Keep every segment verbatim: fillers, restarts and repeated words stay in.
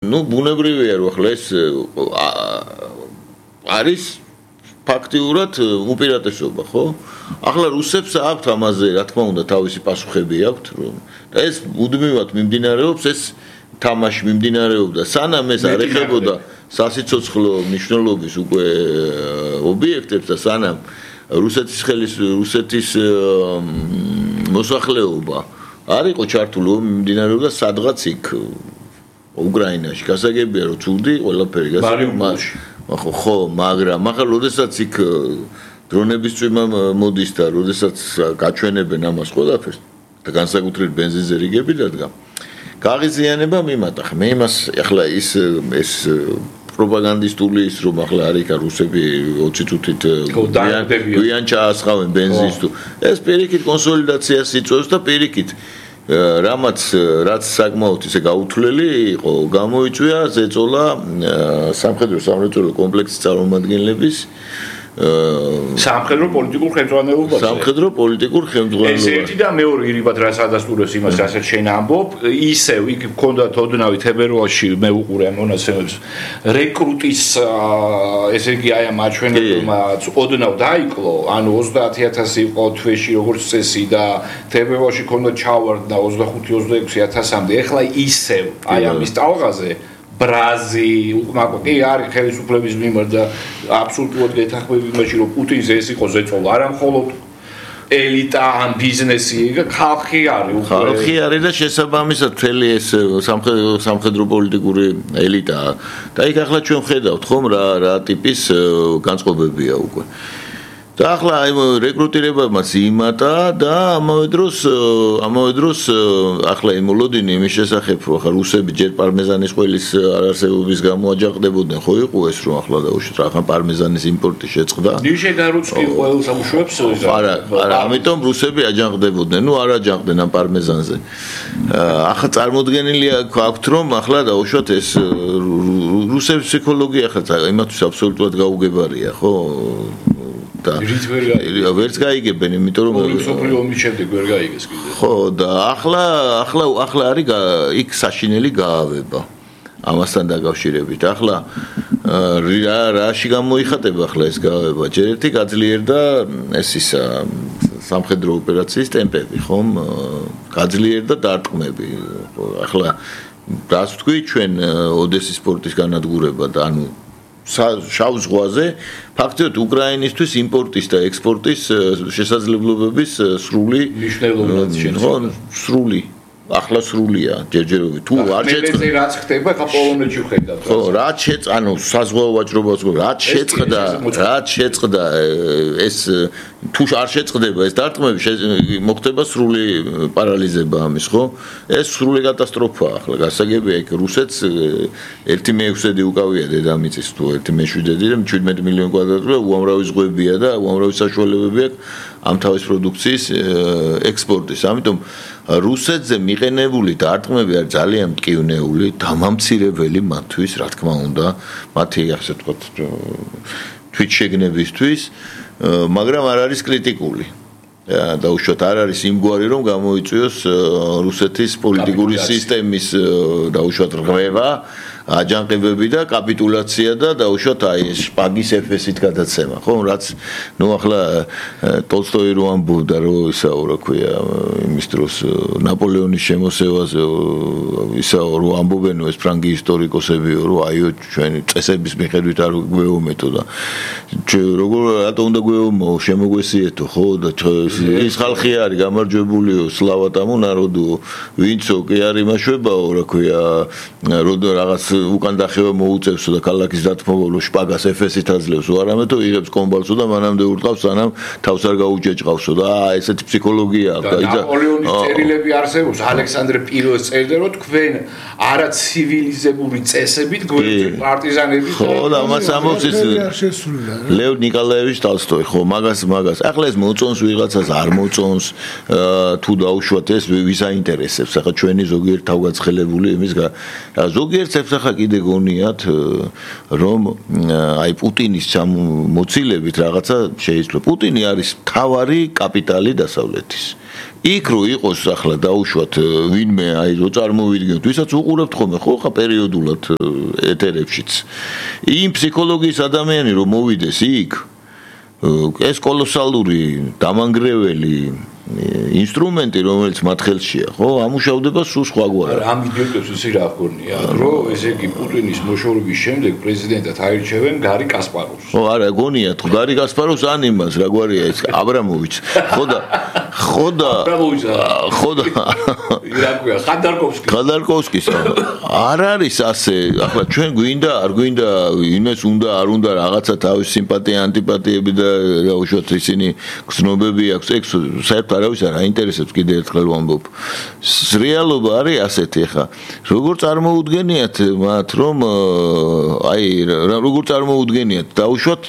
ну ბუნებრივია რომ ახლა ეს არის ფაქტიურად უპირატესობა, ხო? ახლა რუსებს აქვთ ამაზე, რა თქმა უნდა, თავისი პასუხები აქვთ, რომ და ეს მუდმივად მიმდინარეობს, ეს თამაში მიმდინარეობდა, სანამ ეს არ ეხებოდა სასიცოცხლო მნიშვნელობის უკვე ობიექტებს და სანამ რუსეთის ხელის რუსეთის მოსახლეობა არ იყო ჩართული, მიმდინარეობდა სადღაც იქ უკრაინაში. გასაგებია რომ ცუდი ყველაფერი გასაგებია. ხო, მაგრამ ახლა როდესაც იქ დრონების წვიმა მოდის და როდესაც გაჩვენებენ ამას ყველაფერს და განსაკუთრებით ბენზინზე რიგები დადგა. გაღიზიანება მიმატა. მე იმას ახლა ის ეს პროპაგანდისტული ის რომ ახლა არის კა რუსები ოცი წუთით გვიან ჩაასხავენ ბენზინს თუ ეს პირიქით კონსოლიდაციას იწვევს და პირიქით რამაც რაც საკმაოდ ისე გაუთვლელი იყო გამოიწვია ზეწოლა სამხედრო სამრეწველო კომპლექსის წარმომადგენლების სამხედრო პოლიტიკურ ხელმძღვანელობაზე სამხედრო პოლიტიკურ ხელმძღვანელობაზე ეს ერთი და მეორე ირიბად რაც ადასტურებს იმას რასაც შენ ამბობ ისევ იქ მქონდათ ოდნავი თებერვალში მე უყურე ამ მონაცემებს რეკრუტის ესე იგი აი ამ აჩვენებმა ოდნავ დაიკლო ანუ ოცდაათი ათასი იყო თვეში როგორც წესი და თებერვალში ქონდა ჩავარდა ოცდახუთი ოცდაექვსი ათასამდე ეხლა ისევ აი ამის ტალღაზე ბრაზი, უკმაკი არის ხელისუფლების მიმართ და აბსოლუტურად გეთანხმები იმაში რომ პუტინზე ეს იყო ზეწოლა, არა მხოლოდ ელიტა ან ბიზნესი, ხალხი არის უკვე. ხალხი არის და შესაბამისად მთელი ეს სამხედრო სამხედრო პოლიტიკური ელიტა. და იქ ახლა ჩვენ ხედავთ ხომ რა რა ტიპის განწყობებია უკვე. და ახლა აი რეკრუტირებამაც იმატა და ამავე დროს ამავე დროს ახლა იმოლოდინი იმის შესახებ რომ ახლა რუსები ჯერ პარმეზანის ყველის არარსებობის გამო აჯანყდებოდნენ ხო იყო ეს რომ ახლა დაუშვით რა ახლა პარმეზანის იმპორტი შეწყდა ნიშე გარუცკი ყველს ამუშავებს არა არა ამიტომ რუსები აჯანყდებოდნენ ნუ არ აჯანყდნენ ამ პარმეზანზე ახლა წარმოდგენილია აქვთ რომ ახლა დაუშვათ ეს რუსების ფსიქოლოგია ახლა იმათთვის აბსოლუტურად გაუგებარია ხო და ვერც გაიგებენ, იმიტომ რომ სოფლიო ომის შემდეგ ვერ გაიგეს კიდე. ხო, და ახლა ახლა ახლა არის იქ საშინელი გაავება. ამასთან დაკავშირებით. ახლა რა რაში გამოიხატება ახლა ეს გაავება? ჯერ ერთი გაძლიერდა ეს ისა სამხედრო ოპერაციის ტემპები, ხომ? გაძლიერდა დარტყმები. ახლა რას ვთქვი ჩვენ ოდესის პორტის განადგურება და ანუ შავ ზღვაზე ფაქტობრივად უკრაინისთვის იმპორტის და ექსპორტის შესაძლებლობების სრული მნიშვნელობაც შეიძლება სრული ახლა სრულია ჯერჯერობით თუ არ შეწყდა რაც ხდება ხა პოლონეთში ხედავთ ხო რაც შეწყ ანუ საზღვაო ვაჭრობას რაც შეწყდა რაც შეწყდა ეს თუ არ შეწყდება ეს დარტყმები მოხდება სრული პარალიზება ამის ხო ეს სრული კატასტროფაა ახლა გასაგებია იქ რუსეთს ერთი მეექვსედი უკავია დედამიწის თუ ერთი მეშვიდედი და შვიდმეტი მილიონი კვადრატმეტრი უამრავი ზღვებია და უამრავი საშუალებები აქვს ამ თავის პროდუქციის ექსპორტის ამიტომ რუსეთზე მიყენებული დარტყმები არის ძალიან მტკივნეული დამამცირებელი მათთვის რა თქმა უნდა მათი ასე ვთქვათ თვითშეგნებისთვის მაგრამ არ არის კრიტიკული დაუშვათ არ არის იმგვარი რომ გამოიწვიოს რუსეთის პოლიტიკური სისტემის დაუშვათ რღვევა აჯანყებები და კაპიტულაცია და დაუშვათ აი ეს შპაგის ეფესით გადაცემა ხო რაც ნუ ახლა ტოლსტოი რო ამბობდა რომ ისა რა ქვია იმის დროს ნაპოლეონის შემოსევაზე ისა რო ამბობენ ეს ფრანგი ისტორიკოსები რომ აიო ჩვენი წესების მიხედვით არ გვეომეთო და როგორ რატომ უნდა გვეომო შემოგვესიეთო ხო და ის ხალხი არის გამარჯვებულიო სლავა таму народу ვინცო კი არის მაშვებაო რა ქვია როდო რაღაც უკან დახევა მოუწევსო და ქალაქის დათმობლო შპაგას ეფესით აძლევს არამედ იღებს კომბალსო და მანამდე ურტყავს სანამ თავს არ გაუჯეჭყავსო და აა ესეთი ფსიქოლოგია აქვს და ნაპოლეონის წერილები არსებობს ალექსანდრე პირველს წერდა რომ თქვენ არა ცივილიზებული წესებით გვერდით პარტიზანები ხო და მას ამბობს ეს ლევ ნიკოლაევიჩ ტოლსტოი ხო მაგას მაგას ახლა ეს მოწონს ვიღაცას არ მოწონს თუ დაუშვათ ეს ვის აინტერესებს ახლა ჩვენი ზოგიერთ თავგაცხელებული იმის ზოგიერთ ახლა კიდე გონიათ რომ აი პუტინის მოცილებით რაღაცა შეიძლება პუტინი არის მთავარი კაპიტალი დასავლეთის იქ რო იყოს ახლა დაუშვათ ვინმე აი რო წარმოვიდგენთ ვისაც უყურებთ ხოლმე ხო ხა პერიოდულად ეთერებშიც იმ ფსიქოლოგიის ადამიანი რომ მოვიდეს იქ ეს კოლოსალური დამანგრეველი ინსტრუმენტი რომელიც მათ ხელშია ხო ამუშავდება სულ სხვაგვარად ამ იდეებს ისე რა გქონია რომ ესე იგი პუტინის მოშორების შემდეგ პრეზიდენტად აირჩევენ გარი კასპაროვს ხო არა გონიათ ხო გარი კასპაროვს ან იმას რა გვარია ეს აბრამოვიჩ ხო და ხო და ხო და რა ქვია ხანდარკოვსკი ხანდარკოვსკის არ არის ასე ახლა ჩვენ გვინდა არ გვინდა იმეს უნდა არ უნდა რაღაცა თავის სიმპათია ანტიპათიები და რა უშუალოდ ისინი გზნობები აქვს ეგ საერთოდ არავის არ აინტერესებს კიდე ერთხელ ვამბობ რეალობა არის ასეთი ხა როგორ წარმოუდგენიათ მათ რომ აი როგორ წარმოუდგენიათ დაუშვათ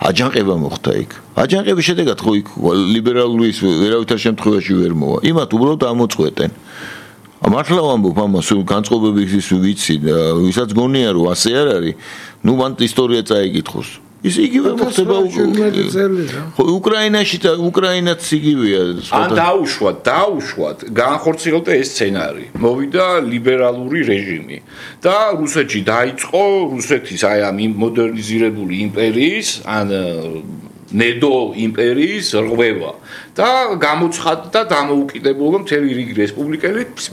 აჯანყება მოხდა იქ აჯანყების შედეგად ხო იქ ლიბერალური ვერავითარ შემთხვევაში ვერ მოვა იმათ უბრალოდ ამოწყვეტენ მართლა ვამბობ ამას განწყობების ვიცი ვისაც გონია რომ ასე არ არის ნუ მან ისტორია წაიკითხოს ის იგივე მოხდება ხო უკრაინაში და უკრაინაც იგივეა ან დაუშვათ დაუშვათ განხორციელდა ეს სცენარი მოვიდა ლიბერალური რეჟიმი და რუსეთში დაიწყო რუსეთის აი ამ მოდერნიზირებული იმპერიის ან ნედო იმპერიის რღვევა და გამოცხადდა დამოუკიდებლობა მთელი რიგი რესპუბლიკების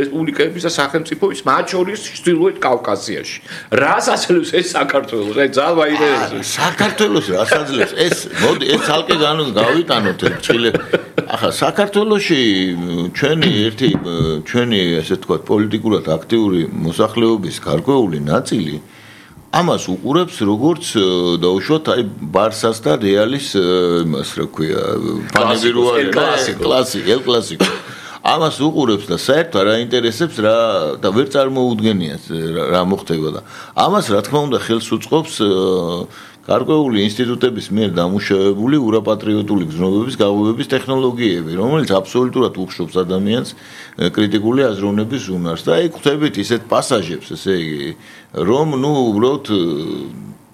რესპუბლიკების და სახელმწიფოების მათ შორის ჩრდილოეთ კავკასიაში. რას ასრულებს ეს საქართველოს? აი ძალ ვაინტერესებს. საქართველოს რას აძლევს? ეს მოდი ეს ცალკე გავიტანოთ წილე. ახლა საქართველოში ჩვენი ერთი ჩვენი ესე ვთქვათ პოლიტიკურად აქტიური მოსახლეობის გარკვეული ნაწილი ამას უყურებს როგორც დაუშვათ აი ბარსას და რეალის იმას რა ქვია ფანებირუარი კლასიკი ელ კლასიკო ამას უყურებს და საერთოდ არ აინტერესებს რა და ვერ წარმოუდგენიათ რა მოხდება და ამას რა თქმა უნდა ხელს უწყობს გარკვეული ინსტიტუტების მიერ დამუშავებული ურაპატრიოტული გზნობების გაღვივების ტექნოლოგიები, რომელიც აბსოლუტურად უხშობს ადამიანს კრიტიკული აზროვნების უნარს და აი ხვდებით ისეთ პასაჟებს, ესე იგი, რომ ნუ უბრალოდ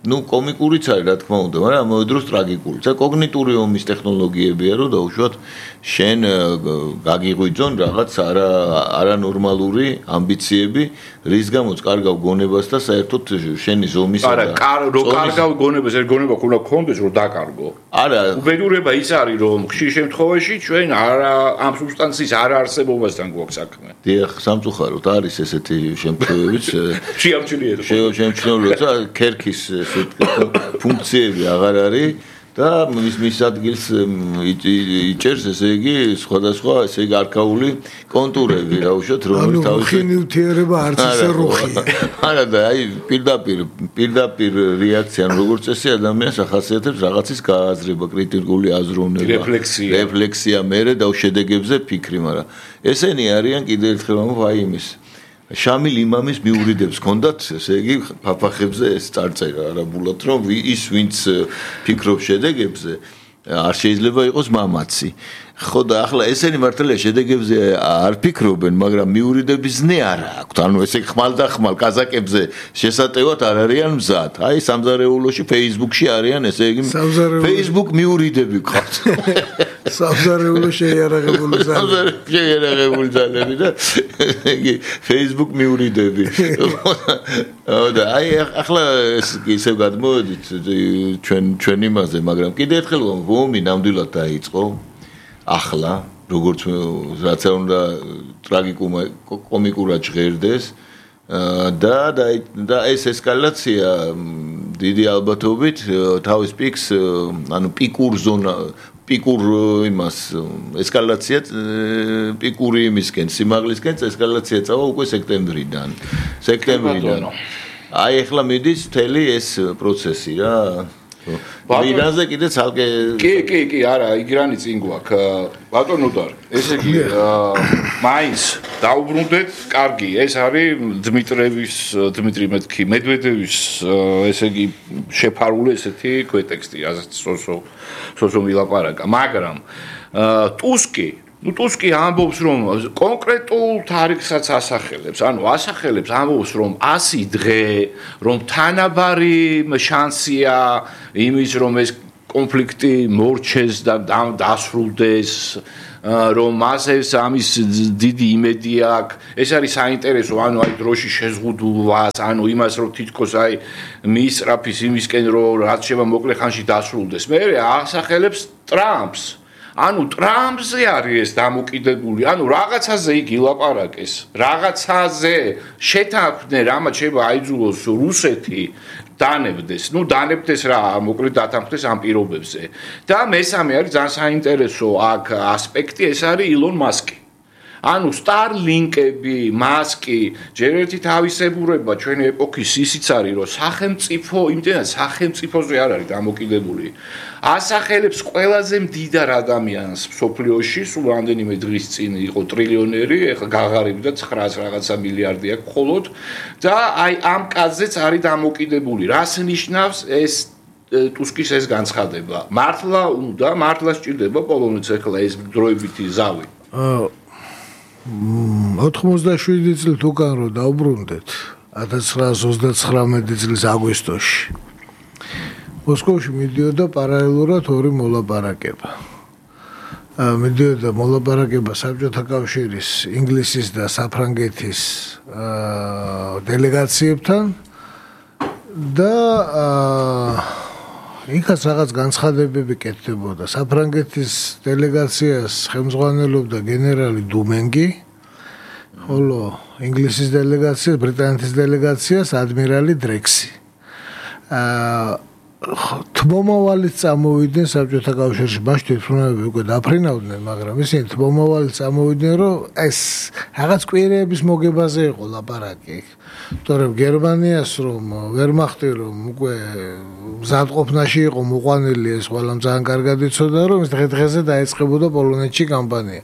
ნუ კომიკურიც არის რა თქმა უნდა, მაგრამ ამავე დროს ტრაგიკული. და კოგნიტური ომის ტექნოლოგიებია, რომ დაუშვათ შენ გაგიღვიძონ რაღაც არა არანორმალური ამბიციები, რის გამოც კარგავ გონებას და საერთოდ შენი ზომისა და არა, რო კარგავ გონებას, ეს გონება უნდა გქონდეს, რომ დაკარგო. არა, უბედურება ის არის, რომ ხშირ შემთხვევაში ჩვენ არა ამ სუბსტანციის არაარსებობასთან გვაქვს საქმე. დიახ, სამწუხაროდ არის ესეთი შემთხვევებიც. შეამჩნიეთ. შეამჩნიეთ, და ქერქის ფუნქციები აღარ არის და მის მის ადგილს იჭერს ესე იგი სხვადასხვა ესე იგი არქაული კონტურები რა უშოთ რომელიც თავის ხინიუთიერება არც ისე რუხია არა და აი პირდაპირ პირდაპირ რეაქცია როგორც წესი ადამიანს ახასიათებს რაღაცის გააზრება კრიტიკული აზროვნება რეფლექსია რეფლექსია მერე და შედეგებზე ფიქრი მაგრამ ესენი არიან კიდევ ერთხელ აი იმის შამილ იმამის მიურიდებს ჰქონდათ, ესე იგი, ფაფახებზე ეს წარწერა არაბულად, რომ ის ვინც ფიქრობს შედეგებზე, არ შეიძლება იყოს მამაცი. ხო და ახლა ესენი მართალია შედეგებზე არ ფიქრობენ, მაგრამ მიურიდების ზნე არ აქვთ. ანუ ესე ხმალ და ხმალ კაზაკებზე შესატევად არ არიან მზად. აი სამზარეულოში Facebook-ში არიან, ესე იგი, Facebook მიურიდები ყავთ. სამზარეულო შეიარაღებული ძალები. შეიარაღებული ძალები და იგი Facebook მიურიდები. და აი ახლა ისე გადმოვედით ჩვენ ჩვენ იმაზე, მაგრამ კიდე ერთხელ ომი ნამდვილად დაიწყო. ახლა როგორც რაც არ უნდა ტრაგიკომიკურად ჟღერდეს და და ეს ესკალაცია დიდი ალბათობით თავის პიკს ანუ პიკურ ზონა პიკურ იმას ესკალაცია პიკური იმისკენ სიმაღლისკენ ესკალაცია წავა უკვე სექტემბრიდან სექტემბრიდან აი ახლა მიდის მთელი ეს პროცესი რა ვირაზე კიდე ცალკე კი კი კი არა იგრანი წინ გვაქვს ბატონო დარ ესე იგი მაინც დაუბრუნდეთ კარგი ეს არის დმიტრევის დმიტრი მეთქი მედვედევის ესე იგი შეფარული ესეთი ქვეტექსტი ასეთ სოსო სოსო მილაპარაკა მაგრამ ტუსკი ნუ ტუსკი ამბობს რომ კონკრეტულ თარიღსაც ასახელებს, ანუ ასახელებს ამბობს რომ ასი დღე, რომ თანაბარი შანსია იმის რომ ეს კონფლიქტი მორჩეს და დასრულდეს, რომ მასეს ამის დიდი იმედი აქვს. ეს არის საინტერესო, ანუ აი დროში შეზღუდულვას, ანუ იმას რომ თითქოს აი მიისწრაფის იმისკენ რომ რაც შევა მოკლე ხანში დასრულდეს. მე ასახელებს ტრამპს. ანუ ტრამპზე არის ეს დამოკიდებული, ანუ რაღაცაზე იგი ლაპარაკეს, რაღაცაზე შეთანხმდნენ, რამაც შევა აიძულოს რუსეთი დანებდეს, ну დანებდეს რა, მოკლედ დათანხმდეს ამ პირობებზე. და მესამე არის ძალიან საინტერესო აქ ასპექტი, ეს არის ილონ მასკი. ანუ სტარლინკები, მასკი, ჯერ ერთი თავისებურება ჩვენი ეპოქის ისიც არის, რომ სახელმწიფო, იმდენად სახელმწიფოზე არ არის დამოკიდებული. ასახელებს ყველაზე მდიდარ ადამიანს მსოფლიოში, სულ რამდენიმე დღის წინ იყო ტრილიონერი, ეხლა გაღარიბდა ცხრაას რაღაცა მილიარდი აქვს მხოლოდ და აი ამ კაცზეც არის დამოკიდებული. რას ნიშნავს ეს ტუსკის ეს განცხადება? მართლა უნდა, მართლა სჭირდება პოლონეთს ეხლა ეს დროებითი ზავი. ოთხმოცდაშვიდი წლით უკან რომ დაუბრუნდეთ ათას ცხრაას ოცდაცხრამეტი წლის აგვისტოში მოსკოვში მიდიოდა პარალელურად ორი მოლაპარაკება. მიდიოდა მოლაპარაკება საბჭოთა კავშირის, ინგლისის და საფრანგეთის დელეგაციებთან და იქაც რაღაც განცხადებები კეთდებოდა. საფრანგეთის დელეგაციას ხელმძღვანელობდა გენერალი დუმენგი, ხოლო ინგლისის დელეგაციას, ბრიტანეთის დელეგაციას ადმირალი დრექსი. თმომავალიც წამოვიდნენ საბჭოთა კავშირში, მაშინ თვითმფრინავები უკვე დაფრინავდნენ, მაგრამ ისინი თმომავალიც წამოვიდნენ, რომ ეს რაღაც კვირეების მოგებაზე იყო ლაპარაკი. თორემ გერმანიას რომ ვერმახტი რომ უკვე მზადყოფნაში იყო მოყვანილი, ეს ყველამ ძალიან კარგად იცოდა, რომ ეს დღე-დღეზე დაეწყებოდა პოლონეთში კამპანია.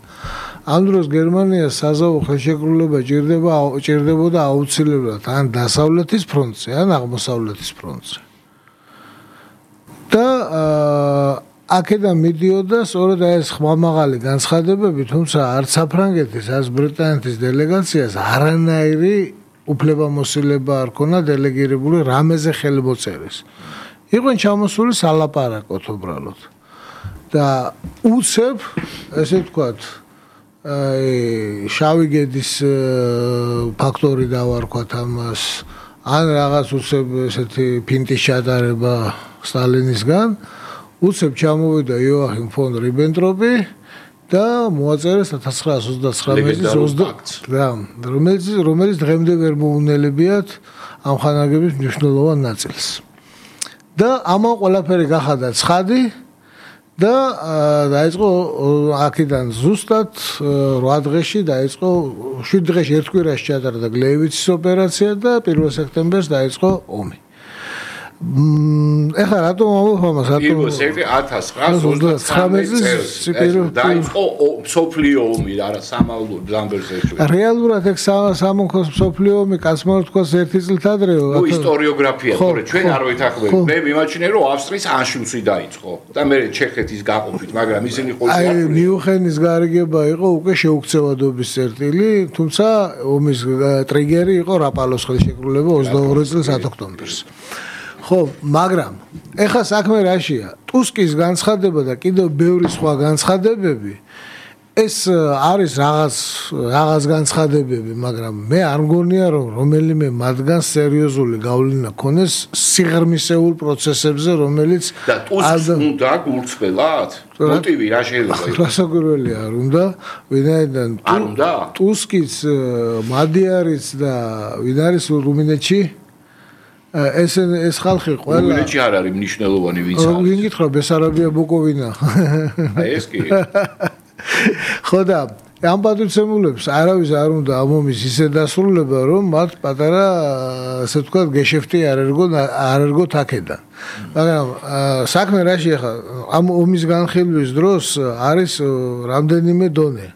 ამ დროს გერმანიას საზავო ხელშეკრულება ჭირდება, ჭირდებოდა აუცილებლად ან დასავლეთის ფრონტზე, ან აღმოსავლეთის ფრონტზე. და აქედან მიდიოდა სწორედ ეს ხმამაღალი განცხადებები, თუმცა არც საფრანგეთის, არც ბრიტანეთის დელეგაციას არანაირი უფლებამოსილება არ ქონა დელეგირებული რამეზე ხელმოწერის. იყვნენ ჩამოსული სალაპარაკოთ უბრალოდ. და უცებ, ესე ვთქვათ, აი შავი გედის ფაქტორი დავარქვათ ამას, ან რაღაც უცებ ესეთი ფინტის ჩატარება სტალინისგან, უცებ ჩამოვიდა იოახიმ ფონ რიბენტროპი და მოაწერეს ათას ცხრაას ოცდაცხრამეტი წლის და რომელიც რომელიც დღემდე ვერ მოუნელებიათ ამ ხანაგების მნიშვნელოვან ნაწილს. და ამან ყველაფერი გახადა ცხადი და დაიწყო აქედან ზუსტად რვა დღეში დაიწყო შვიდ დღეში ერთ კვირაში ჩატარდა გლეივიცის ოპერაცია და პირველ სექტემბერს დაიწყო ომი. ეხლა რატომ ამბობ ამას? რატომ ათას ცხრაას ოცდაცხრამეტი წელს დაიწყო მსოფლიო ომი, არა სამალო ზამბერზეში. რეალურად ეგ სამონქოს მსოფლიო ომი კაცმარ თქვას ერთი წლით ადრეო. ნუ ისტორიოგრაფია, თორე ჩვენ არ ვეთანხმებით. მე მიმაჩნია რომ ავსტრიის ანშლუსი დაიწყო და მე ჩეხეთის გაყოფით, მაგრამ ისინი ყოველთვის აი მიუხენის გარიგება იყო უკვე შეუქცევადობის წერტილი, თუმცა ომის ტრიგერი იყო რაპალოს ხელშეკრულება ოცდაორი წლის ათ ოქტომბერს. ხო, მაგრამ ეხლა საქმე რაშია? ტუსკის განცხადება და კიდევ ბევრი სხვა განცხადებები ეს არის რაღაც რაღაც განცხადებები, მაგრამ მე არ მგონია რომ რომელიმე მათგან სერიოზული გავლენა ქონდეს სიღრმისეულ პროცესებზე, რომელიც და ტუსკს უნდა გულწრფელად? მოტივი რა შეიძლება იყოს? რასაკვირველია არ უნდა, ვინაიდან არ უნდა? ტუსკის მადიარიც და ვინ არის რუმინეთში? ეს ეს ხალხი ყველა რუმინეთში არ არის მნიშვნელოვანი ვინც არის. ვინ გითხრა ბესარაბია ბუკოვინა? აი ეს კი. ხო და ამ პატრიცემულებს არავის არ უნდა ამ ომის ისე დასრულება, რომ მათ პატარა ასე ვთქვათ გეშეფტი არ ერგო არ ერგოთ აქედან. მაგრამ საქმე რაში ახლა ამ ომის განხილვის დროს არის რამდენიმე დონე.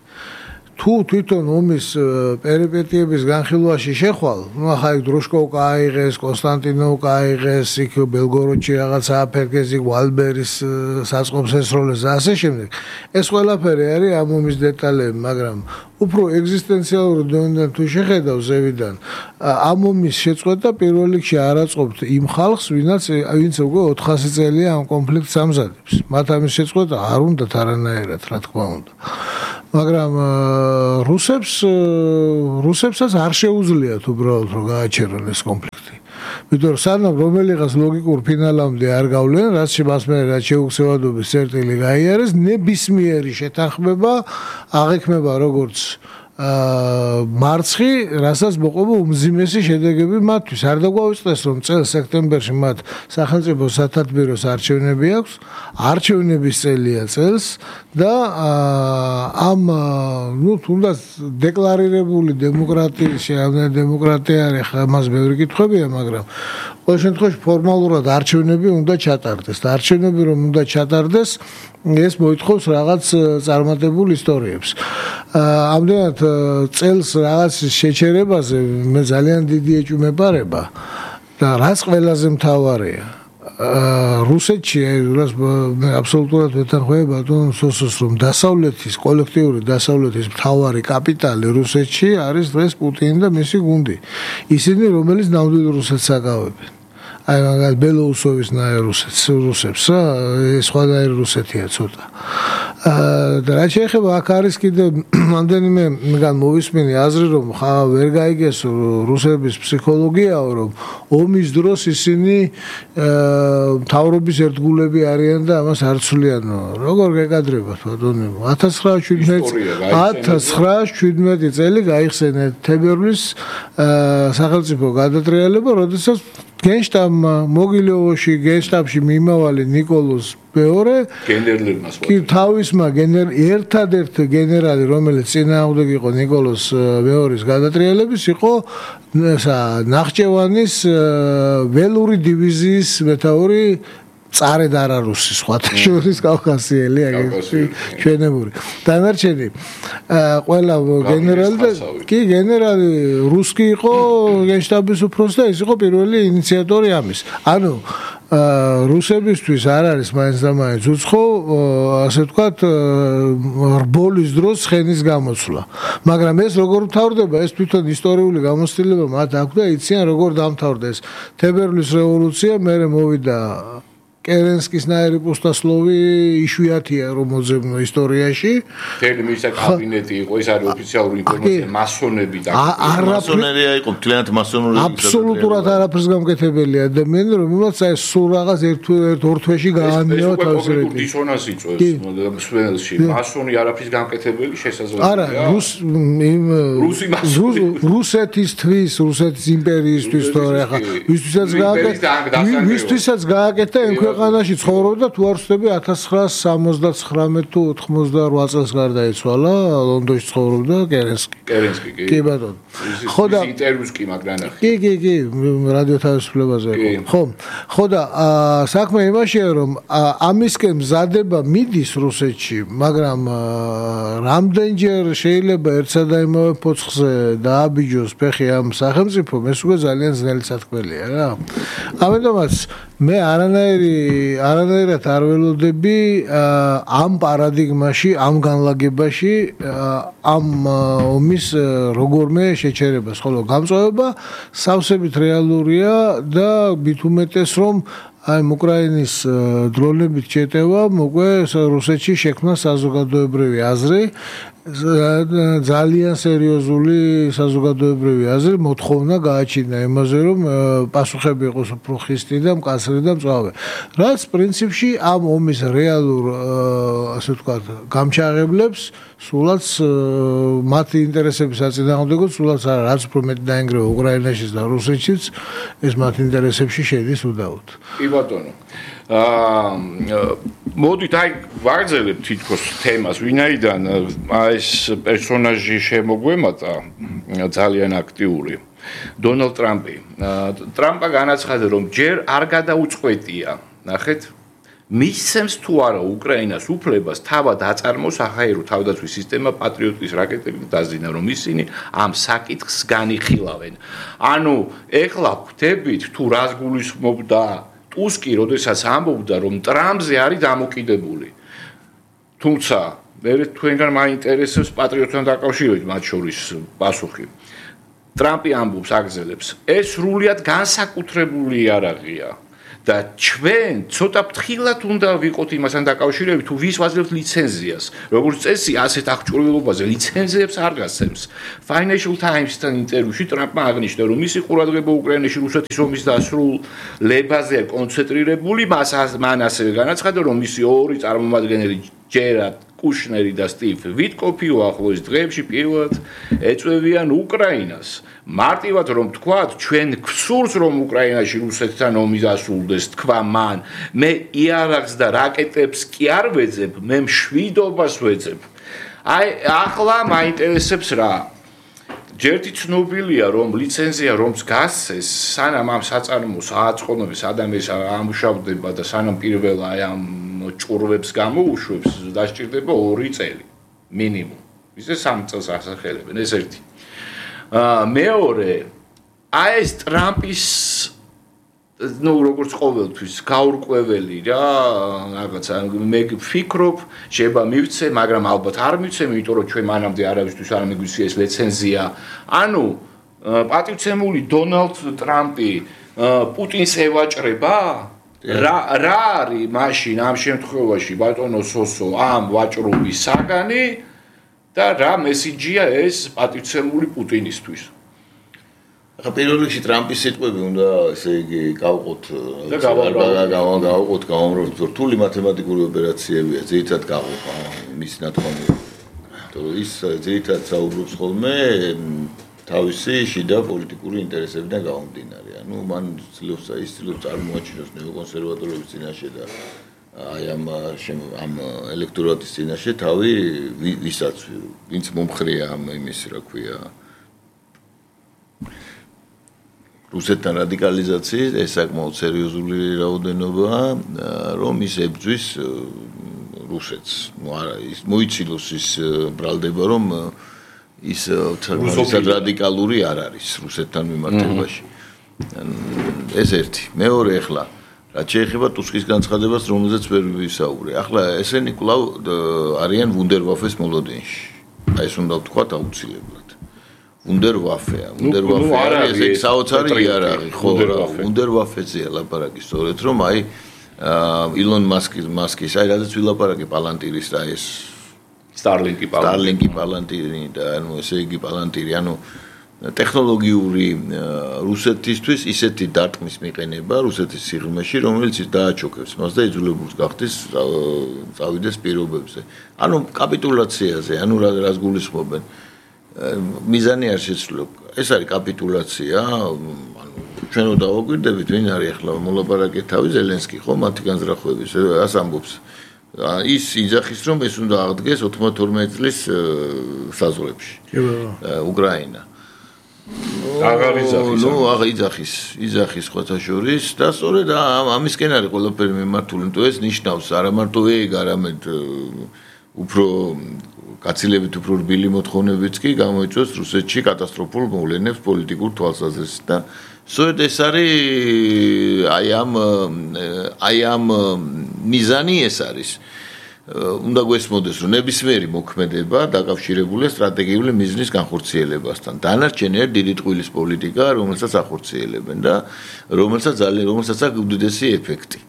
თუ თვითონ ომის პერიპეტიების განხილვაში შეხვალ, ну ახლა იქ დროშკოვკა აიღეს, კონსტანტინოვკა აიღეს, იქ ბელგოროდში რაღაცა აფერგეს, იქ ვალბერის საწყობს ესროლეს და ასე შემდეგ. ეს ყველაფერი არის ამ ომის დეტალები, მაგრამ უფრო ეგზისტენციალური დონიდან თუ შეხედავ ზევიდან, ამ ომის შეწყვეტა პირველ რიგში არ აწყობთ იმ ხალხს, ვინაც ვინც უკვე ოთხასი წელია ამ კონფლიქტს ამზადებს. მათ ამის შეწყვეტა არ უნდათ არანაირად, რა თქმა უნდა. მაგრამ რუსებს რუსებსაც არ შეუძლიათ უბრალოდ რომ გააჩერონ ეს კონფლიქტი. ვიდრე სანამ რომელიღაც ლოგიკურ ფინალამდე არ გავლენ, რაც მას მე რაც შეუცვლელობის წერტილი გაიარეს, ნებისმიერი შეთანხმება აღექმება როგორც აა მარცხი, რასაც მოყვება უმძიმესი შედეგები მათთვის. არ დაგვაუწყდეს რომ წელს სექტემბერში მათ სახელმწიფო სათათბიროს არჩევნები აქვს, არჩევნების წელია წელს და ამ ნუ თუნდაც დეკლარირებული დემოკრატიის შეავნა დემოკრატია არის, ამას ბევრი კითხვებია, მაგრამ ყოველ შემთხვევაში ფორმალურად არჩევნები უნდა ჩატარდეს და არჩევნები რომ უნდა ჩატარდეს, ეს მოითხოვს რაღაც წარმატებულ ისტორიებს. ამდენად წელს რაღაც შეჩერებაზე მე ძალიან დიდი ეჭვმეპარება და რაც ყველაზე მთავარია რუსეთში რას მე აბსოლუტურად ვეთანხმები ბატონ სოსოს რომ დასავლეთის კოლექტიური დასავლეთის მთავარი კაპიტალი რუსეთში არის დღეს პუტინი და მისი გუნდი. ისინი რომელიც ნამდვილ რუსეთს აკავებენ. აი მაგალ ბელოუსოვის ნაირ რუსეთს რუსებს სხვადასხვა რუსეთია ცოტა. და რა შეიძლება აქ არის კიდე ამდენიმე მგან მოვისმინე აზრი რომ ხა ვერ გაიგეს რუსების ფსიქოლოგიაო რომ ომის დროს ისინი მთავრობის ერთგულები არიან და ამას არ ცვლიანო. როგორ გეკადრებათ ბატონო ათას ცხრაას შვიდმეტი წელი გაიხსენეთ თებერვლის სახელმწიფო გადატრიალება, როდესაც გენშტაბმა მოგილოვოში გენშტაბში მიმავალი ნიკოლოზ მეორე გენერლერმას კი თავისმა გენერ ერთადერთ გენერალი რომელიც წინააღმდეგ იყო ნიკოლოზ მეორის გადატრიალების იყო ნახჭევანის ველური დივიზიის მეთაური წარე დარარუსი სხვათა შორის კავკასიელი აგეთი ჩვენებური დანარჩენი ყველა გენერალი და კი გენერალი რუსკი იყო გენშტაბის უფროსი და ის იყო პირველი ინიციატორი ამის ანუ რუსებისთვის არ არის მაინც და მაინც უცხო ასე ვთქვათ რბოლის დროს ცხენის გამოცვლა მაგრამ ეს როგორ მთავრდება ეს თვითონ ისტორიული გამოცდილება მათ აქვს და იციან როგორ დამთავრდა ეს თებერვლის რევოლუცია მერე მოვიდა კერენსკის ნაირი პუსტასლოვი იშვიათია რომ მოძებნო ისტორიაში. თელი მისა კაბინეტი იყო, ეს არის ოფიციალური ინფორმაცია, მასონები და მასონერია იყო, თლიანად მასონური. აბსოლუტურად არაფერს გამკეთებელი ადამიანი, რომელსაც აი სულ რაღაც ერთ ერთ ორ თვეში გაანევა თავის რეგიონში. დისონანსი იწვევს მსვლელში. მასონი არაფრის გამკეთებელი შესაძლებელია. არა, რუს იმ რუსი მასონი. რუსეთისთვის, რუსეთის იმპერიისთვის თორე ახლა ვისთვისაც გააკეთა, ვისთვისაც გააკეთა ქვეყანაში ცხოვრობდა თუ არ ვსწრები ათას ცხრაას სამოცდათხრამეტ თუ ოთხმოცდაოთხ წელს გარდაიცვალა ლონდონში ცხოვრობდა კერენსკი კერენსკი კი კი ბატონო ხო და ინტერვიუს კი მაგრანახი კი კი კი რადიო თავისუფლებაზე იყო ხო ხო და საქმე იმაშია რომ ამისკენ მზადება მიდის რუსეთში მაგრამ რამდენჯერ შეიძლება ერთსა და იმავე ფოცხზე დააბიჯოს ფეხი ამ სახელმწიფომ ეს უკვე ძალიან ძნელი სათქმელია რა ამიტომაც მე არანაირი არანაირად არ ველოდები ამ პარადიგმაში, ამ განლაგებაში, ამ ომის როგორმე შეჩერებას, ხოლო გამწვავება სავსებით რეალურია და მით უმეტეს რომ აი უკრაინის დრონებით შეტევა მოგვე რუსეთში შექმნა საზოგადოებრივი აზრი ძალიან სერიოზული საზოგადოებრივი აზრი მოთხოვნა გააჩინა იმაზე რომ პასუხები იყოს უფრო ხისტი და მკაცრი და მწვავე რაც პრინციპში ამ ომის რეალურ ასე ვთქვათ გამჩაღებლებს სულაც მათი ინტერესების საწინააღმდეგო სულაც არა რაც უფრო მეტი დაინგრევა უკრაინაშიც და რუსეთშიც ეს მათი ინტერესებში შედის უდაოდ კი ბატონო აა მოდით აი ვაგრძელებთ თითქოს თემას ვინაიდან ეს პერსონაჟი შემოგვემატა ძალიან აქტიური დონალდ ტრამპი ტრამპა განაცხადა რომ ჯერ არ გადაუწყვეტია ნახეთ მისცემს თუ არა უკრაინას უფლებას თავად აწარმოოს საჰაერო თავდაცვის სისტემა პატრიოტის რაკეტებით დაზინა, რომ ისინი ამ საკითხს განიხილავენ. ანუ ეხლა ხვდებით თუ რას გულისხმობდა ტუსკი, როდესაც ამბობდა, რომ ტრამპზე არის დამოკიდებული. თუმცა მე თქვენგან მაინტერესებს პატრიოტთან დაკავშირებით მათ შორის პასუხი. ტრამპი ამბობს აგზელებს, ეს სრულიად განსაკუთრებული იარაღია. და ჩვენ ცოტა ფრთხილად უნდა ვიყოთ იმასთან დაკავშირებით, თუ ვის ვაძლევთ ლიცენზიას. როგორც წესი, ასეთ აღჭურვილობაზე ლიცენზიებს არ გასცემს. Financial Times-თან ინტერვიუში ტრამპმა აღნიშნა, რომ მისი ყურადღება უკრაინაში რუსეთის ომის დასრულებაზე კონცენტრირებული, მას მან ასევე განაცხადა, რომ მისი ორი წარმომადგენელი ჯერად კუშნერი და სტივ ვიტკოფი უახლოეს დღეებში პირველად ეწვევიან უკრაინას. მარტივად რომ თქვათ, ჩვენ გვსურს რომ უკრაინაში რუსეთთან ომი დასრულდეს, თქვა მან. მე იარაღს და რაკეტებს კი არ ვეძებ, მე მშვიდობას ვეძებ. აი, ახლა მაინტერესებს რა. ჯერთი ცნობილია, რომ ლიცენზია რომს გასცეს, სანამ ამ საწარმოს აწყონებს ადამიანს ამუშავდება და სანამ პირველ აი ამ ჭურვებს გამოუშვებს, დასჭირდება ორი წელი მინიმუმ. ისე სამ წელს ასახელებენ, ეს ერთი. აა მეორე, აი ეს ტრამპის ну, როგორც ყოველთვის გაურკვეველი რა, რაღაცა მე ვფიქრობ, შეიძლება მივცე, მაგრამ ალბათ არ მივცე, იმიტომ რომ ჩვენ მანამდე არავისთვის არ მიგვიცია ეს ლიცენზია. ანუ პატივცემული დონალდ ტრამპი პუტინს ევაჭრება? რა რა არის მაშინ ამ შემთხვევაში ბატონო სოსო ამ ვაჭრობის საგანი და რა მესიჯია ეს პატივცემული პუტინისთვის? ახლა პირველ რიგში ტრამპის სიტყვები უნდა ესე იგი გავყოთ გავყოთ გავამრავლოთ რთული მათემატიკური ოპერაციებია ძირითადად გავყოთ მის ნათქვამი რომ ის ძირითადად საუბრობს ხოლმე თავისი შიდა პოლიტიკური ინტერესებიდან გამომდინარე. ანუ მან ცდილობს ის ცდილობს წარმოაჩინოს ნეოკონსერვატორების წინაშე და აი ამ ამ ელექტორატის წინაშე თავი ვისაც ვინც მომხრეა ამ იმის რა ქვია რუსეთთან რადიკალიზაციის ეს საკმაოდ სერიოზული რაოდენობა რომ ის ებძვის რუსეთს. ნუ არა ის მოიცილოს ის ბრალდება რომ ის თვითონ რადიკალური არ არის რუსეთთან მიმართებაში. ეს ერთი. მეორე ახლა რაც შეეხება ტუსკის განცხადებას, რომელზეც ვერ ვისაუბრე. ახლა ესენი კვლავ არიან ვუნდერვაფეს მოლოდინში. აი ეს უნდა ვთქვათ აუცილებლად. ვუნდერვაფეა. ვუნდერვაფე არის ეს საოცარი იარაღი, ხო? ვუნდერვაფეზეა ლაპარაკი სწორედ რომ აი ილონ მასკის მასკის აი რადგან ვილაპარაკე პალანტირის და ეს Starlink-ი Starlink-ი პალანტირი და ანუ ესე იგი პალანტირი, ანუ ტექნოლოგიური რუსეთისთვის ისეთი დარტყმის მიყენება რუსეთის სიღრმეში, რომელიც დააჩოქებს მას და იძულებულს გახდეს წავიდეს პირობებზე. ანუ კაპიტულაციაზე, ანუ რას გულისხმობენ. მიზანი არ შეცვლილ. ეს არის კაპიტულაცია, ანუ ჩვენ უნდა დავაკვირდებით, ვინ არის ახლა მოლაპარაკე თავი ზელენსკი, ხო, მათი განზრახვების, ას ამბობს. ის იძახის რომ ეს უნდა აღდგეს ოთხმოცდაორმეტ წლის საზღვრებში. უკრაინა. აღარ იძახის. ნუ აღარ იძახის, იძახის ხოთა შორის და სწორედ ამისკენ არის ყველაფერი მიმართული. თუ ეს ნიშნავს არა მარტო ეგ, არამედ უფრო კაცილებით უფრო რბილი მოთხოვნებიც კი გამოიწვევს რუსეთში კატასტროფულ მოვლენებს პოლიტიკურ თვალსაზრისით და სწორედ ეს არის აი ამ აი ამ მიზანი ეს არის. უნდა გვესმოდეს რომ ნებისმიერი მოქმედება დაკავშირებულია სტრატეგიული მიზნის განხორციელებასთან. დანარჩენი დიდი ტყუილის პოლიტიკა, რომელსაც ახორციელებენ და რომელსაც ძალიან რომელსაც აქვს უდიდესი ეფექტი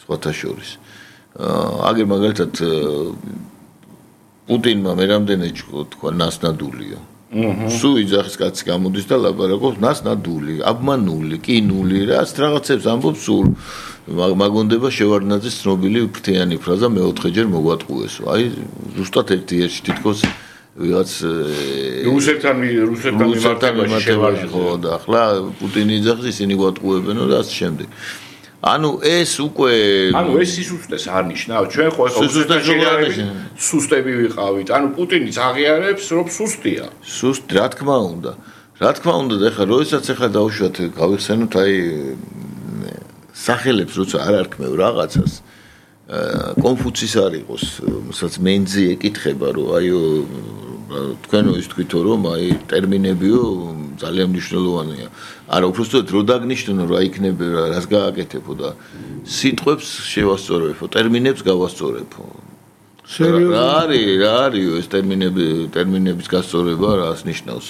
სხვათა შორის. აგერ მაგალითად პუტინმა მე რამდენი თქვა ნასნადულია. სუ იძახის კაცი გამოდის და ლაპარაკობს ნასნადული, აბმანული, კინული, რაც რაღაცებს ამბობს სულ. მაგონდება შევარდნაძის ცნობილი ფრთიანი ფრაზა მეოთხეჯერ მოგვატყუესო. აი ზუსტად ერთი ერთში თითქოს ვიღაც რუსეთთან რუსეთთან მიმართებაში ხო და ახლა პუტინი იძახის ისინი გვატყუებენო და ასე შემდეგ. ანუ ეს უკვე ანუ ეს სისუსტეს არ ნიშნავს. ჩვენ ხო სუსტები ვიყავით. ანუ პუტინიც აღიარებს რომ სუსტია. სუსტ რა თქმა უნდა. რა თქმა უნდა და ახლა როდესაც ახლა დავუშვათ გავიხსენოთ აი სახელებს როცა არ არქმევ რაღაცას კონფუცის არ იყოს, სადაც მენძი ეკითხება, რომ აიო თქვენო ის თქვითო რომ აი ტერმინებიო ძალიან მნიშვნელოვანია. არა, უბრალოდ რო დაგნიშნო რა იქნება, რას გააკეთებო და სიტყვებს შევასწორებო, ტერმინებს გავასწორებო. რა არის, რა არის ეს ტერმინები, ტერმინების გასწორება, რას ნიშნავს?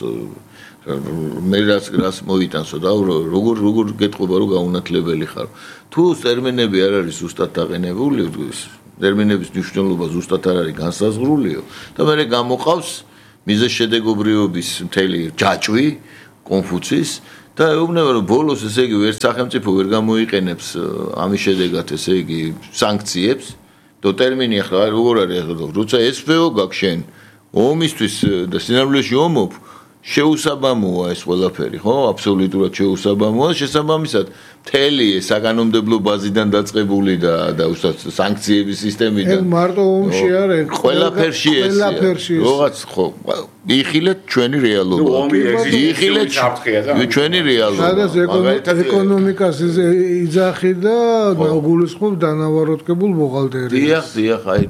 მე რას რას მოიტანსო და როგორ როგორ გეტყობა რომ გაუნათლებელი ხარ. თუ ტერმინები არ არის ზუსტად დაყენებული, ტერმინების მნიშვნელობა ზუსტად არ არის განსაზღვრულიო და მე გამოყავს მიზეშედეგობრიობის მთელი ჯაჭვი კონფუცის და ეუბნება რომ ბოლოს ესე იგი ერთ სახელმწიფო ვერ გამოიყენებს ამის შედეგად ესე იგი სანქციებს და ტერმინი ახლა როგორ არის ახლა როცა ესფეო გაქვს შენ ომისთვის და სინამდვილეში ომობ შეუსაბამოა ეს ყველაფერი, ხო? აბსოლუტურად შეუსაბამოა, შესაბამისად, მთელი საკანონმდებლო ბაზიდან დაწყებული და და უშუალოდ სანქციების სისტემიდან. ეხ მარტო ომში არ არის, ყველაფერში ესეა. ყველაფერში. რაღაც ხო, იხილეთ ჩვენი რეალობა. იხილეთ ჩვენი რეალობა. სადაც ეკონომიკას იძახი და გულისხმობ დანავაროტკებულ ბუღალტერიას. დიახ, დიახ, აი,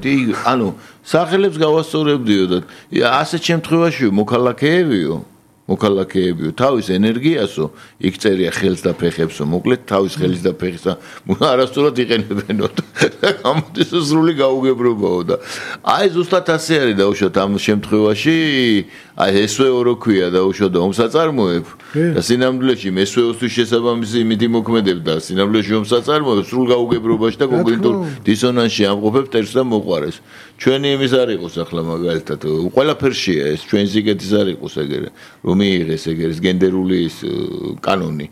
ანუ სახელებს გავასწორებდიო და ასეთ შემთხვევაში მოქალაქეებიო მოქალაქეებიო თავის ენერგიასო იქ წერია ხელს და ფეხებსო მოკლედ თავის ხელის და ფეხისა არასწორად იყენებენო და გამოდის სრული გაუგებრობაო და აი ზუსტად ასე არის დაუშვათ ამ შემთხვევაში აი ესვეო რო ქვია დაუშვათ ომსაწარმოებ და სინამდვილეში ესვეოსთვის შესაბამისი იმითი მოქმედებ და სინამდვილეში ომსაწარმოებ სრულ გაუგებრობაში და კოგნიტურ დისონანსში ამყოფებ ტერს და მოყვარეს ჩვენი იმის არ იყოს ახლა მაგალითად ყველაფერშია ეს ჩვენ ზიგეთის არ იყოს ეგრე რომ მიიღეს ეგრე გენდერული ის კანონი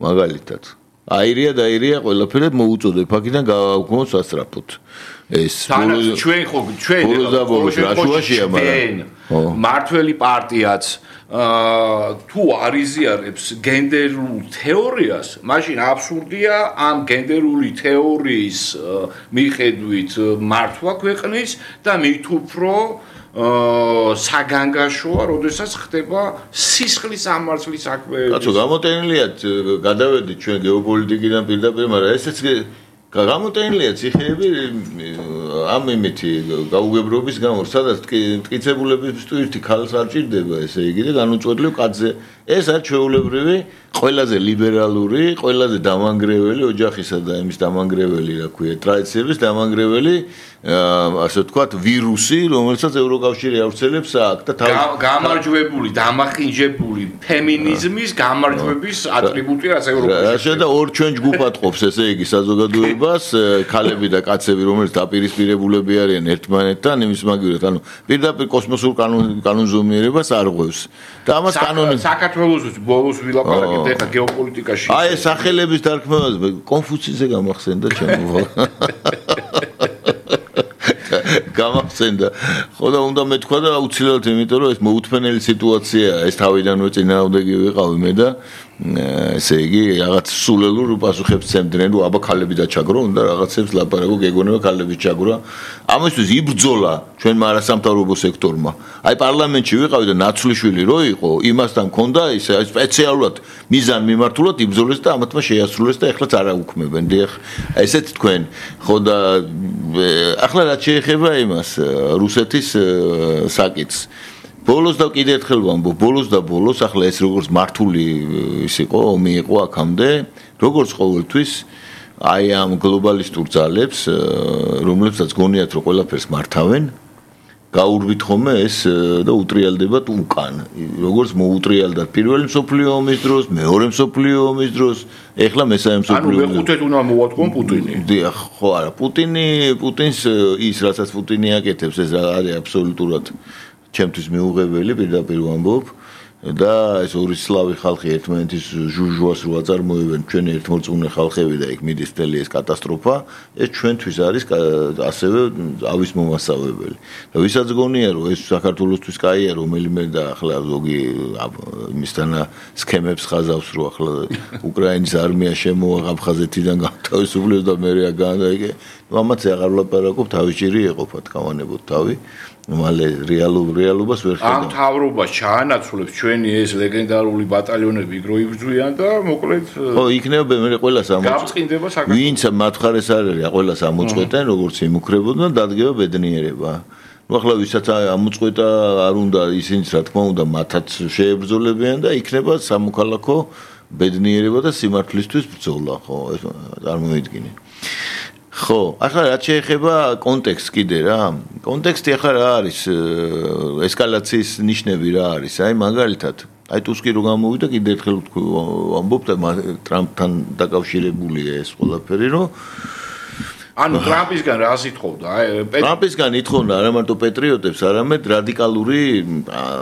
მაგალითად აირია და აირია ყველაფერი მოუწოდებ აქედან გავაუქმოთ სასწრაფოდ ეს ჩვენ ხო ჩვენ რაშუაშია მაგრამ მართველი პარტიაც თუ არ იზიარებს გენდერულ თეორიას, მაშინ აბსურდია ამ გენდერული თეორიის მიხედვით მართვა ქვეყნის და მით უფრო საგანგაშოა, როდესაც ხდება სისხლის ამარცხლის საქმეები. კაცო, გამოტენილია გადავედით ჩვენ გეოპოლიტიკიდან პირდაპირ, მაგრამ ესეც გამოტენილია ციხეები ამ იმითი გაუგებრობის გამო, სადაც მტკიცებულების ტვირთი ქალს არ ჭირდება, ესე იგი და განუწყვეტლივ კაცზე. ეს არის ჩვეულებრივი, ყველაზე ლიბერალური, ყველაზე დამანგრეველი ოჯახისა და იმის დამანგრეველი, რა ქვია, ტრადიციების დამანგრეველი, ასე ვთქვათ, ვირუსი, რომელსაც ევროკავშირი ავრცელებს აქ და თავის გამარჯვებული, დამახინჯებული ფემინიზმის გამარჯვების ატრიბუტია ასე ევროკავშირში. და ორ ჩვენ ჯგუფად ყოფს, ესე იგი, საზოგადოებას, ქალები და კაცები, რომელიც დაპირისპირებულები არიან ერთმანეთთან, იმის მაგივრად, ანუ პირდაპირ კოსმოსურ კანონზომიერებას არ ღვევს. და ამას კანონი საქართველოს ბოლოს ვილაპარაკეთ ეხლა გეოპოლიტიკაში. აი ეს სახელების დარქმევაზე კონფუციზე გამახსენდა ჩემო. გამახსენდა. ხო და უნდა მეთქვა და აუცილებლად იმიტომ რომ ეს მოუთმენელი სიტუაციაა, ეს თავიდანვე წინააღმდეგი ვიყავი მე და ესე იგი რაღაც სულელურ პასუხებს ცემდნენ, რომ აბა ქალები დაჩაგრო, უნდა რაღაცებს ლაპარაკო, გეგონება ქალები ჩაგრა. ამისთვის იბრძოლა ჩვენმა არასამთავრობო სექტორმა. აი პარლამენტში ვიყავი და ნაცვლიშვილი რო იყო, იმასთან მქონდა ის სპეციალურად მიზან მიმართულად იბრძოლეს და ამათმა შეასრულეს და ეხლაც არ აუქმებენ. დიახ, ესეთ თქვენ. ხო და ახლა რაც შეეხება იმას რუსეთის საკითხს ბოლოს და კიდე ერთხელ ვამბობ, ბოლოს და ბოლოს ახლა ეს როგორც მართული ის იყო, ომი იყო აქამდე, როგორც ყოველთვის აი ამ გლობალისტურ ძალებს, რომლებსაც გონიათ რომ ყველაფერს მართავენ, გაურვით ხოლმე ეს და უტრიალდებათ უკან. როგორც მოუტრიალდათ პირველი მსოფლიო ომის დროს, მეორე მსოფლიო ომის დროს, ეხლა მესამე მსოფლიო ომის. ანუ მეხუთედ უნდა მოვატყონ პუტინი. დიახ, ხო არა, პუტინი, პუტინს ის რასაც პუტინი აკეთებს, ეს არის აბსოლუტურად ჩემთვის მიუღებელი, პირდაპირ ვამბობ. და ეს ორი სლავი ხალხი ერთმანეთის ჟუჟუას რო აწარმოებენ ჩვენი ერთმორწმუნე ხალხები და იქ მიდის მთელი ეს კატასტროფა ეს ჩვენთვის არის ასევე ავის მომასწავებელი და ვისაც გონია რომ ეს საქართველოსთვის კაია რომელიმე და ახლა ზოგი იმისთან სქემებს ხაზავს რომ ახლა უკრაინის არმია შემოვა აფხაზეთიდან გავთავისუფლებს და მე რა განაიგე ამაც აღარ ვლაპარაკობ თავის ჭირი ეყოფა თქავანებოდ თავი მალე რეალურ რეალობას ვერ ხედავ. ამ თავრობას ჩაანაცვლებს ჩვენი ეს ლეგენდარული ბატალიონები იგრო იბრძვიან და მოკლედ ხო, იქნება მე ყველას ამოწყვეტენ. გავწყინდება საქართველოს. ვინც მათხარეს არ არის, ყველას ამოწყვეტენ, როგორც იმუქრებოდნენ, დადგება ბედნიერება. ნუ ახლა ვისაც ამოწყვეტა არ უნდა ისინიც რა თქმა უნდა მათაც შეებრძოლებიან და იქნება სამოქალაქო ბედნიერება და სიმართლისთვის ბრძოლა, ხო, ეს წარმოვიდგინე. ხო, ახლა რაც შეეხება კონტექსტს კიდე რა. კონტექსტი ახლა რა არის? ესკალაციის ნიშნები რა არის? აი მაგალითად, აი ტუსკი რო გამოვიდა, კიდე ერთხელ ვამბობ და ტრამპთან დაკავშირებულია ეს ყველაფერი, რომ ანუ ტრამპისგან რა ითხოვდა? ტრამპისგან ითხოვდა არა მარტო პეტრიოტებს, არამედ რადიკალური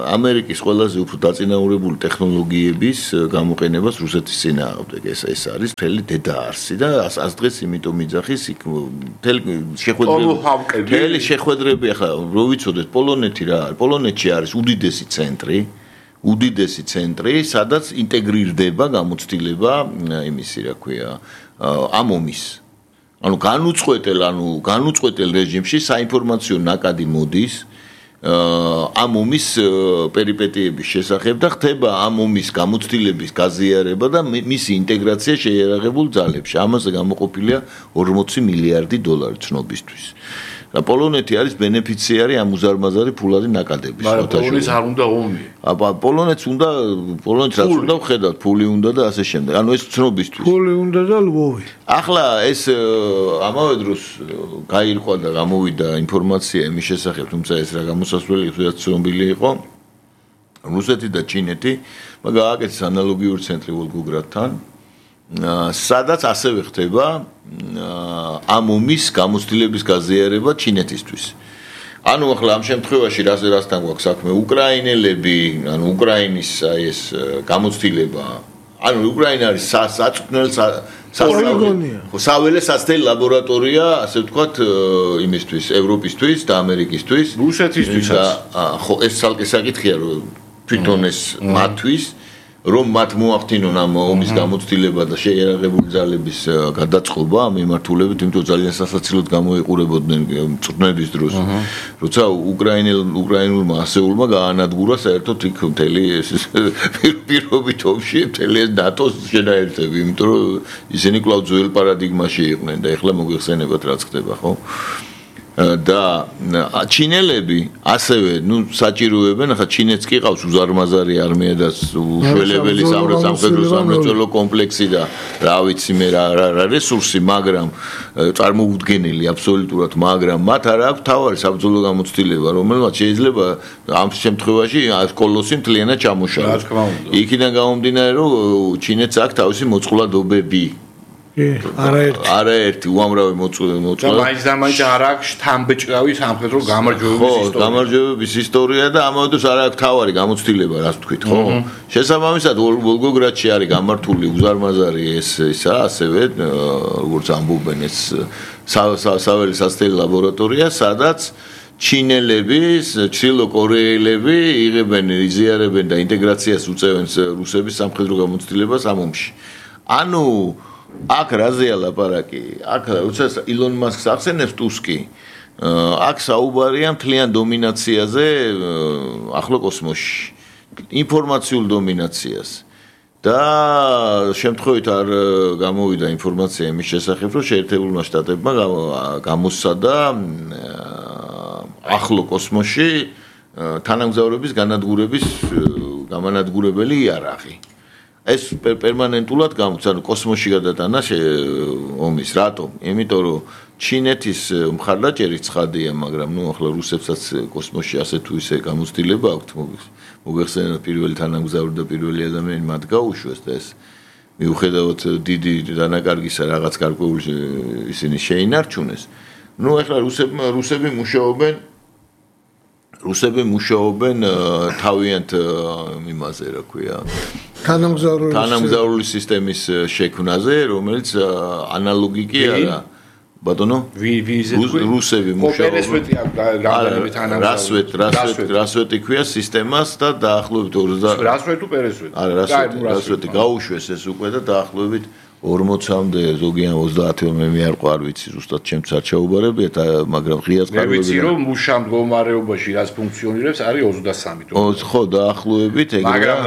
ამერიკის ყველაზე უფრო დაწინაურებული ტექნოლოგიების გამოყენებას რუსეთის წინააღმდეგ. ეს ეს არის მთელი დედაარსი და ას დღეს იმიტომ იძახის იქ მთელი შეხვედრები მთელი შეხვედრები ახლა რო ვიცოდეთ პოლონეთი რა არის? პოლონეთში არის უდიდესი ცენტრი, უდიდესი ცენტრი, სადაც ინტეგრირდება გამოცდილება იმისი რა ქვია, ამომის ანუ განუწყვეტელ, ანუ განუწყვეტელ რეჟიმში საინფორმაციო ნაკადი მოდის ამ ომის პერიპეტიების შესახებ და ხდება ამ ომის გამოცდილების გაზიარება და მისი ინტეგრაცია შეიარაღებულ ძალებში. ამაზე გამოყოფილია ორმოცი მილიარდი დოლარი ცნობისთვის. და პოლონეთი არის ბენეფიციარი ამ უზარმაზარი ფულადი ნაკადების. მაგრამ პოლონეთს არ უნდა ომი. აბა პოლონეთს უნდა პოლონეთს რაც უნდა ვხედავთ, ფული უნდა და ასე შემდეგ. ანუ ეს ცნობისთვის. ფული უნდა და ლვოვი. ახლა ეს ამავე დროს გაირკვა და გამოვიდა ინფორმაცია იმის შესახებ, თუმცა ეს რა გამოსასვლელი ხდათ ცნობილი იყო. რუსეთი და ჩინეთი გააკეთეს ანალოგიური ცენტრი ვოლგოგრადთან. სადაც ასევე ხდება ამ ომის გამოცდილების გაზიარება ჩინეთისთვის. ანუ ახლა ამ შემთხვევაში რაზე რასთან გვაქვს საქმე? უკრაინელები, ანუ უკრაინის აი ეს გამოცდილება, ანუ უკრაინა არის საწვნელ პოლიგონია. ხო, საველე სასწრაფო ლაბორატორია, ასე ვთქვათ, იმისთვის, ევროპისთვის და ამერიკისთვის. რუსეთისთვისაც. ხო, ეს ცალკე საკითხია, რომ თვითონ ეს მათთვის რომ მათ მოახდინონ ამ ომის გამოცდილება და შეიარაღებული ძალების გადაწყობა ამ მიმართულებით, იმიტომ ძალიან სასაცილოდ გამოიყურებოდნენ წვრთნების დროს. როცა უკრაინელ უკრაინულმა ასეულმა გაანადგურა საერთოდ იქ მთელი პირობით ომში მთელი ნატოს შედაერთები, იმიტომ რომ ისინი კვლავ ძველ პარადიგმაში იყვნენ და ეხლა მოგვიხსენებათ რაც ხდება, ხო? და ჩინელები ასევე, ნუ საჭიროებენ, ახლა ჩინეთს კი ყავს უზარმაზარი არმია და უშველებელი სამხედრო სამრეწველო კომპლექსი და რა ვიცი მე რა რა რესურსი, მაგრამ წარმოუდგენელი აბსოლუტურად, მაგრამ მათ არ აქვს თავარი საბრძოლო გამოცდილება, რომელმაც შეიძლება ამ შემთხვევაში კოლოსი მთლიანად ჩამოშალოს. იქიდან გამომდინარე, რომ ჩინეთს აქვს თავისი მოწყვლადობები. არაერთი არაერთი უამრავი მოწყვლადი და მაინც და მაინც არ აქვს თამბეჭდავი სამხედრო გამარჯვებების ისტორია. ხო, გამარჯვებების ისტორია და ამავე დროს არ აქვს თავარი გამოცდილება, რას თქვით, ხო? შესაბამისად, ვოლგოგრადში არის გამართული უზარმაზარი ეს ისა, ასევე როგორც ამბობენ ეს საველე სასწრაფო ლაბორატორია, სადაც ჩინელები, ჩრდილოკორეელები იღებენ, იზიარებენ და ინტეგრაციას უწევენ რუსების სამხედრო გამოცდილებას ამ ომში. ანუ აქ რაზეა ლაპარაკი? აქ როცა ილონ მასკს ახსენებს ტუსკი, აქ საუბარია მთლიან დომინაციაზე ახლო კოსმოსში, ინფორმაციულ დომინაციას. და შემთხვევით არ გამოვიდა ინფორმაცია იმის შესახებ, რომ შეერთებულმა შტატებმა გამოსცადა ახლო კოსმოსში თანამგზავრების განადგურების გამანადგურებელი იარაღი. ეს პერმანენტულად გამოც, ანუ კოსმოსში გადატანა ომის, რატომ? იმიტომ რომ ჩინეთის მხარდაჭერი ცხადია, მაგრამ ნუ ახლა რუსებსაც კოსმოსში ასე თუ ისე გამოცდილება აქვთ, მოგვეხსენებათ პირველი თანამგზავრი და პირველი ადამიანი მათ გაუშვეს და ეს მიუხედავად დიდი დანაკარგისა რაღაც გარკვეული ისინი შეინარჩუნეს. ნუ ახლა რუსებმა რუსები მუშაობენ რუსები მუშაობენ თავიანთ იმაზე, რა ქვია, თანამგზავრული თანამგზავრული სისტემის შექმნაზე, რომელიც ანალოგი კი არა. ბატონო? ვიზა რუსები მუშაობენ. პერესვეტი გამდანები თანამგზავრი. რასვეტ, რასვეტ, რასვეტი ქვია სისტემას და დაახლოებით ოცდაათი რასვეტი თუ პერესვეტი? არა, რასვეტი, რასვეტი გაუშვეს ეს უკვე და დაახლოებით ორმოცამდე ზოგი ან ოცდაათი მე მიარყვა არ ვიცი ზუსტად ჩემც არ ჩაუბარებიათ მაგრამ ღიად ყარებები მე ვიცი რომ მუშა მდგომარეობაში რაც ფუნქციონირებს არის ოცდასამი ხო დაახლოებით ეგრე მაგრამ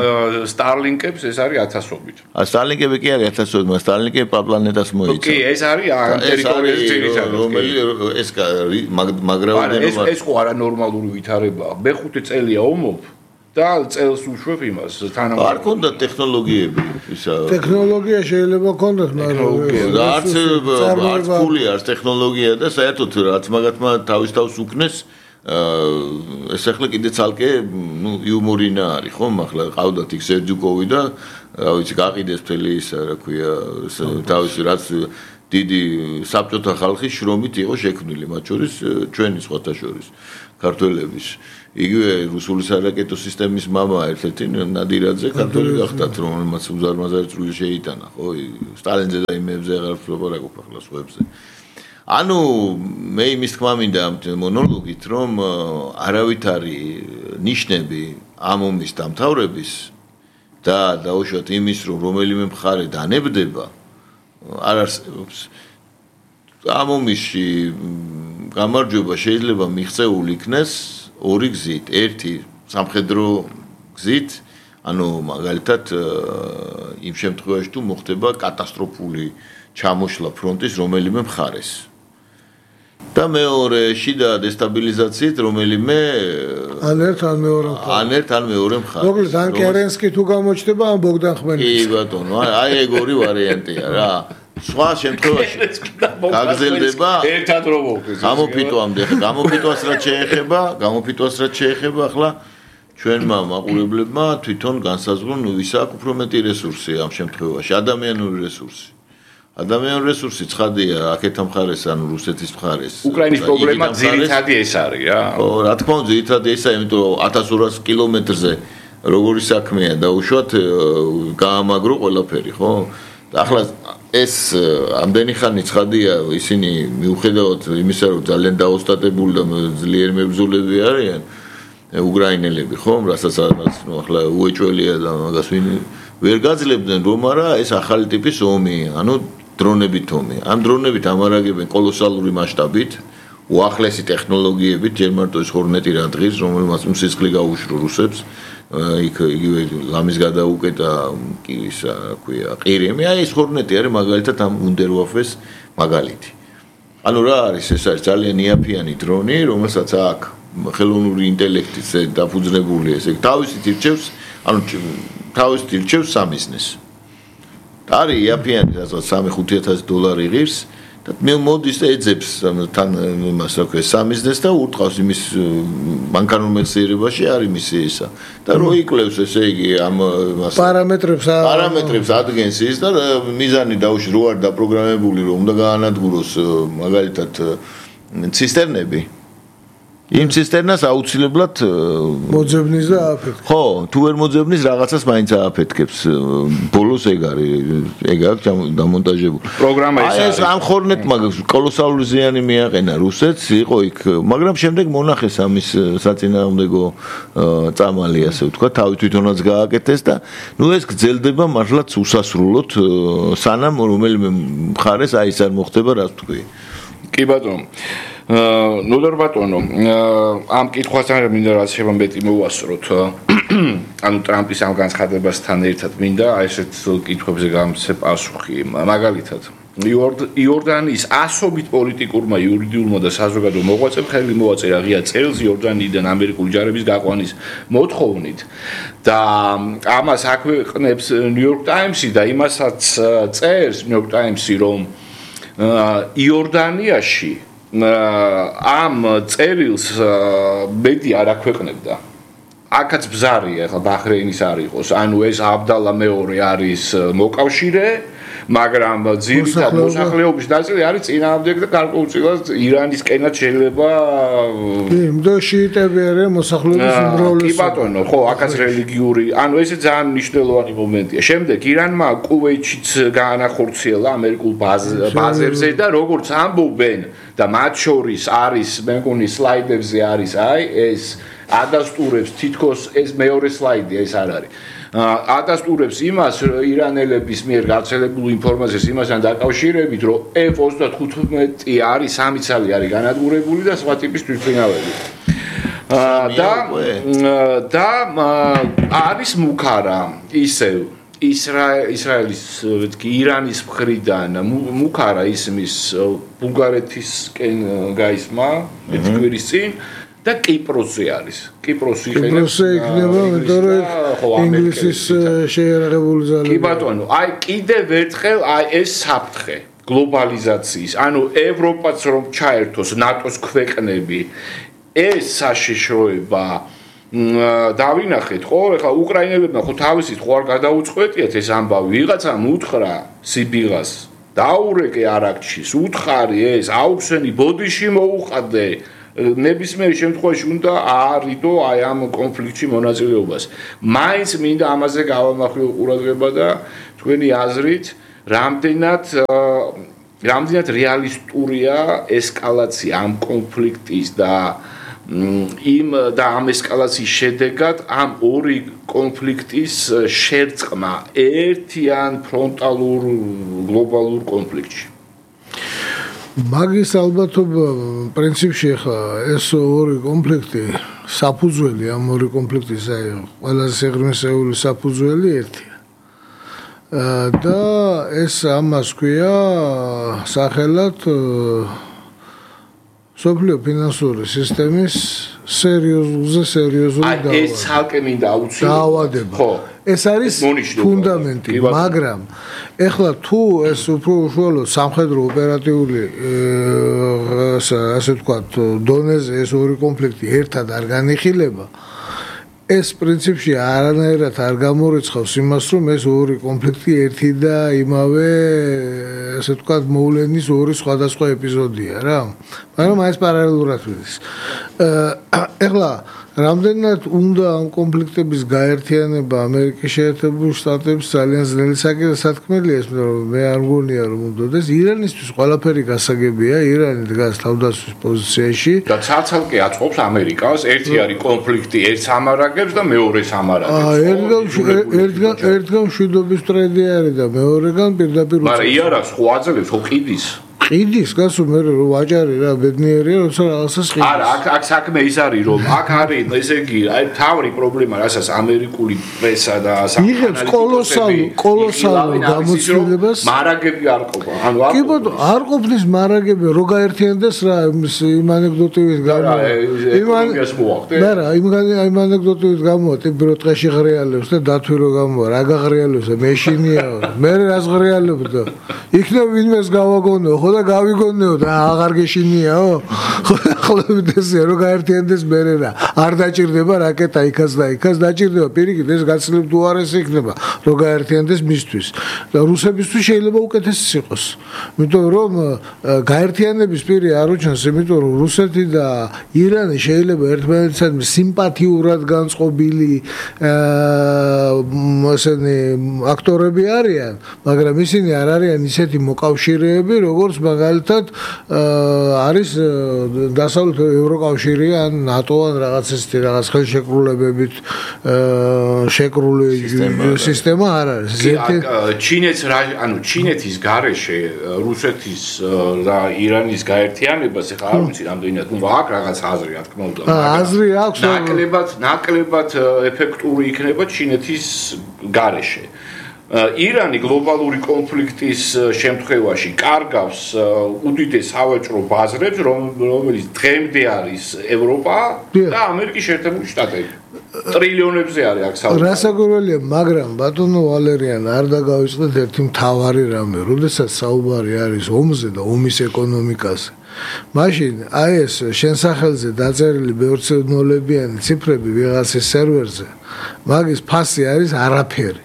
Starlink-ებს ეს არის ათასობით ა Starlink-ები კი არის ათასობით მაგრამ Starlink-ები პლანეტას მოიცავს კი ეს არის ამ ტერიტორიაზე ძირითადად რომელი ეს მაგრაუდენობა ეს ხო არა ნორმალური ვითარებაა მე ხუთი წელია ომობ და წელს უშვებ იმას თანამდებობა არ ქონდა ტექნოლოგიები ისა ტექნოლოგია შეიძლება ქონდეთ მაგრამ არც არც ფული არც ტექნოლოგია და საერთოდ რაც მაგათმა თავის თავს უკნეს ეს ახლა კიდე ცალკე ნუ იუმორინა არის ხო ახლა ყავდათ იქ სერჯუკოვი და რა ვიცი გაყიდეს მთელი ის რა ქვია თავის რაც დიდი საბჭოთა ხალხის შრომით იყო შექმნილი მათ შორის ჩვენი სხვათა შორის ქართველების იგივე რუსული სარაკეტო სისტემის მამა ერთ-ერთი ნადირაძე ქართველი გახდათ რომელმაც უზარმაზარი წვლილი შეიტანა ხო სტალინზე და იმებზე აღარ ვფლობარაკობ ახლა სხვებზე ანუ მე იმის თქმა მინდა ამ მონოლოგით რომ არავითარი ნიშნები ამ ომის დამთავრების და დაუშვათ იმის რომ რომელიმე მხარე დანებდება არ არსებობს ამ ომში გამარჯვება შეიძლება მიღწეული იქნეს ორი გზით ერთი სამხედრო გზით ანუ მაგალითად იმ შემთხვევაში თუ მოხდება კატასტროფული ჩამოშლა ფრონტის რომელიმე მხარეს და მეორე შიდა დესტაბილიზაციით რომელიმე ან ერთ ან მეორე მხარეს ან ერთ ან მეორე მხარეს მოკლედ ან კერენსკი თუ გამოჩნდება ან ბოგდან ხმელნიცკი კი ბატონო აი ეგ ორი ვარიანტია რა სხვა შემთხვევაში გაგზელდება ერთად რომ მოხდეს გამოფიტვამდე გამოფიტვას რაც შეეხება გამოფიტვას რაც შეეხება ახლა ჩვენმა მაყურებლებმა თვითონ განსაზღვრონ ვის აქვს უფრო მეტი რესურსი ამ შემთხვევაში ადამიანური რესურსი ადამიანური რესურსი ცხადია აქეთ მხარეს ანუ რუსეთის მხარეს უკრაინის პრობლემა ძირითადი ეს არის რა ო რა თქმა უნდა ძირითადი ესაა იმიტომ რომ ათას ორას კილომეტრზე როგორი საქმეა დაუშვათ გაამაგრო ყველაფერი ხო ახლა ეს ამდენი ხანი ცხადია ისინი მიუხედავად იმისა რომ ძალიან დაოსტატებული და ძლიერ მებრძოლები არიან უკრაინელები ხო რასაც ახლა უეჭველია და მაგას ვინ ვერ გაძლებდნენ რომ არა ეს ახალი ტიპის ომი ანუ დრონებით ომი ამ დრონებით ამარაგებენ კოლოსალური მასშტაბით უახლესი ტექნოლოგიებით ჯერ მარტო ეს ხორნეტი რა დღის რომელმაც მსისხლი გაუშრო რუსებს იქ იგივე ლამის გადაუკეტა კი ისა რა ქვია ყირემი აი ეს ხორნეტი არის მაგალითად ამ უნდერვაფეს მაგალითი ანუ რა არის ეს არის ძალიან იაფიანი დრონი რომელსაც აქ ხელოვნური ინტელექტით დაფუძნებული ესე თავისით ირჩევს ანუ თავისით ირჩევს სამიზნეს არის იაფიანი რასაც სამი ხუთი ათასი დოლარი ღირს და მე მოდის და ეძებს თან იმას რა ქვია სამიზნეს და ურტყავს იმის ბანკანურ მეხსიერებაში არის მისი ისა და რო იკლევს ესე იგი ამ პარამეტრებს პარამეტრებს ადგენს ის და მიზანი დაუშვი რო არ დაპროგრამებული რომ უნდა გაანადგუროს მაგალითად ცისტერნები იმ ცისტერნას აუცილებლად მოძებნის და ააფეთქებს. ხო, თუ ვერ მოძებნის რაღაცას მაინც ააფეთქებს. ბოლოს ეგ არის, ეგ აქვს დამონტაჟებული. პროგრამა ის არის. ეს ამ ხორნეტმა კოლოსალური ზიანი მიაყენა რუსეთს, იყო იქ, მაგრამ შემდეგ მონახეს ამის საწინააღმდეგო წამალი, ასე ვთქვა, თავი თვითონაც გააკეთეს და ნუ ეს გრძელდება მართლაც უსასრულოდ, სანამ რომელიმე მხარეს აი ეს არ მოხდება, რაც თქვი. კი ბატონო. ნუ დარ ბატონო, ამ კითხვასთან მინდა რაც შეიძლება მეტი მოვასწროთ. ანუ ტრამპის ამ განცხადებასთან ერთად მინდა აი ესეთ კითხვებზე გამცე პასუხი. მაგალითად, იორდანიის ასობით პოლიტიკურმა, იურიდიულმა და საზოგადო მოღვაწემ ხელი მოაწერა ღია წელს იორდანიიდან ამერიკული ჯარების გაყვანის მოთხოვნით და ამას აქვეყნებს New York Times-ი და იმასაც წერს New York Times-ი რომ იორდანიაში ამ წერილს მედი არ აქვეყნებდა. აქაც ბზარია, ახლა ბაჰრეინის არ იყოს. ანუ ეს აბდალა მეორე არის მოკავშირე, მაგრამ ძირითად მოსახლეობის ნაწილი არის წინააღმდეგ და გარკვეულწილად ირანისკენაც შეიძლება კი, და შიიტები არიან მოსახლეობის უმრავლესობა. კი ბატონო, ხო, აქაც რელიგიური, ანუ ესე ძალიან მნიშვნელოვანი მომენტია. შემდეგ ირანმა კუვეითშიც გაანახორციელა ამერიკულ ბაზებზე და როგორც ამბობენ და მათ შორის არის, მე მგონი სლაიდებზე არის, აი ეს ადასტურებს თითქოს ეს მეორე სლაიდია, ეს არ არის. ადასტურებს იმას ირანელების მიერ გავრცელებულ ინფორმაციას იმასთან დაკავშირებით, რომ ეფ ოცდათხუთმეტი არის სამი ცალი არის განადგურებული და სხვა ტიპის თვითმფრინავები. და და არის მუქარა ისევ ისრაელის ირანის მხრიდან მუქარა ისმის ბულგარეთისკენ გაისმა ერთი კვირის წინ და კიპროსზე არის. კიპროსი კიპროსზე იქნება, იმიტომ რომ ინგლისის შეიარაღებული ძალები. კი ბატონო, აი კიდევ ერთხელ აი ეს საფრთხე გლობალიზაციის, ანუ ევროპაც რომ ჩაერთოს ნატოს ქვეყნები, ეს საშიშროება დავინახეთ, ხო, ეხლა უკრაინელებმა ხო თავისით ხო არ გადაუწყვეტიათ ეს ამბავი, ვიღაცამ უთხრა სიბიღას, დაურეკე არაქჩის, უთხარი ეს, აუქსენი ბოდიში მოუხადე, ნებისმიერ შემთხვევაში უნდა აარიდო აი ამ კონფლიქტში მონაწილეობას. მაინც მინდა ამაზე გავამახვილო ყურადღება და თქვენი აზრით, რამდენად რამდენად რეალისტურია ესკალაცია ამ კონფლიქტის და იმ და ამ ესკალაციის შედეგად ამ ორი კონფლიქტის შერწყმა ერთიან ფრონტალურ გლობალურ კონფლიქტში. მაგის ალბათობა პრინციპში ხა ეს ორი კონფლიქტი საფუძველი ამ ორი კონფლიქტის აი ყველაზე სიღრმისეული საფუძველი ერთია. და ეს ამას ქვია სახელად სოფლიო ფინანსური სისტემის სერიოზულზე სერიოზული დაავადება. აი ეს ცალკე მინდა აუცილებლად. ხო, ეს არის ფუნდამენტი, მაგრამ ეხლა თუ ეს უფრო უშუალოდ სამხედრო ოპერატიული ასე ვთქვათ დონეზე ეს ორი კონფლიქტი ერთად არ განიხილება, ეს პრინციპში არანაირად არ გამორიცხავს იმას, რომ ეს ორი კონფლიქტი ერთი და იმავე ასე ვთქვათ მოვლენის ორი სხვადასხვა ეპიზოდია რა. მაგრამ აი ეს პარალელურად ვიდეს. ეხლა რამდენად უნდა ამ კონფლიქტების გაერთიანება ამერიკის შეერთებულ შტატებს ძალიან ძნელი საკითხია, რომ მე არ მგონია რომ უნდადეს. ირანისთვის ყველაფერი გასაგებია, ირანი დგას თავდაცვის პოზიციაში და ცალ-ცალკე აწყობს ამერიკას, ერთი არის კონფლიქტი, ერთ სამარაგებს და მეორე სამარაგებს. ერთგან ერთგან მშვიდობის ტრენდი არის და მეორეგან პირდაპირ მაგრამ იარაღს ხო აძლევს, ხო ყიდის? ყიდის, გასულ მე რომ ვაჭარი რა ბედნიერია, როცა რაღაცას ყიდის. არა, აქ აქ საქმე ის არის, რომ აქ არის, ესე იგი, აი თავი პრობლემა, რასაც ამერიკული პრესა და იღებს კოლოსალურ კოლოსალურ გამოცდილებას, მარაგები არ ყოფა. ანუ კი ბატონო, არ ყოფნის მარაგები, რო გაერთიანდეს რა იმ ანეკდოტივით გამო. იმან და რა, იმ ანეკდოტივით გამო, ტიპი რო ტყეში ღრიალებს და დათვი რო გამო, რა გაღრიალებს და მეშინიაო. მე რას ღრიალებდო? იქნებ ვინმეს გავაგონო, ხო და გავიგონეო და აღარ გეშინიაო. ხოლმე რო გაერთიანდეს მე რა. არ დაჭირდება რაკეტა იქაც და იქაც დაჭირდება პირიქით ეს გაცილებით უარესი იქნება რო გაერთიანდეს მისთვის. და რუსებისთვის შეიძლება უკეთესი იყოს. იმიტომ რომ გაერთიანების პირი არ უჩანს, იმიტომ რომ რუსეთი და ირანი შეიძლება ერთმანეთისადმი სიმპათიურად განწყობილი ესენი აქტორები არიან, მაგრამ ისინი არ არიან ისეთი მოკავშირეები, როგორც მაგალითად არის დასავლეთ ევროკავშირი ან ნატო ან რაღაც ესეთი რაღაც ხელშეკრულებებით შეკრული სისტემა არ არის. ჩინეთს ანუ ჩინეთის გარეშე რუსეთის და ირანის გაერთიანებას ეხლა არ ვიცი რამდენად უნდა აქ რაღაც აზრი რა თქმა უნდა. აზრი აქვს. ნაკლებად ნაკლებად ეფექტური იქნება ჩინეთის გარეშე. ირანი გლობალური კონფლიქტის შემთხვევაში კარგავს უდიდეს სავაჭრო ბაზრებს, რომელიც დღემდე არის ევროპა და ამერიკის შეერთებული შტატები. ტრილიონებზე არის აქ საუბარი. რასაკვირველია, მაგრამ ბატონო ვალერიან არ დაგავიწყდეთ ერთი მთავარი რამე, როდესაც საუბარი არის ომზე და ომის ეკონომიკაზე. მაშინ აი ეს შენ სახელზე დაწერილი ბევრცნოლებიანი ციფრები ვიღაცის სერვერზე, მაგის ფასი არის არაფერი.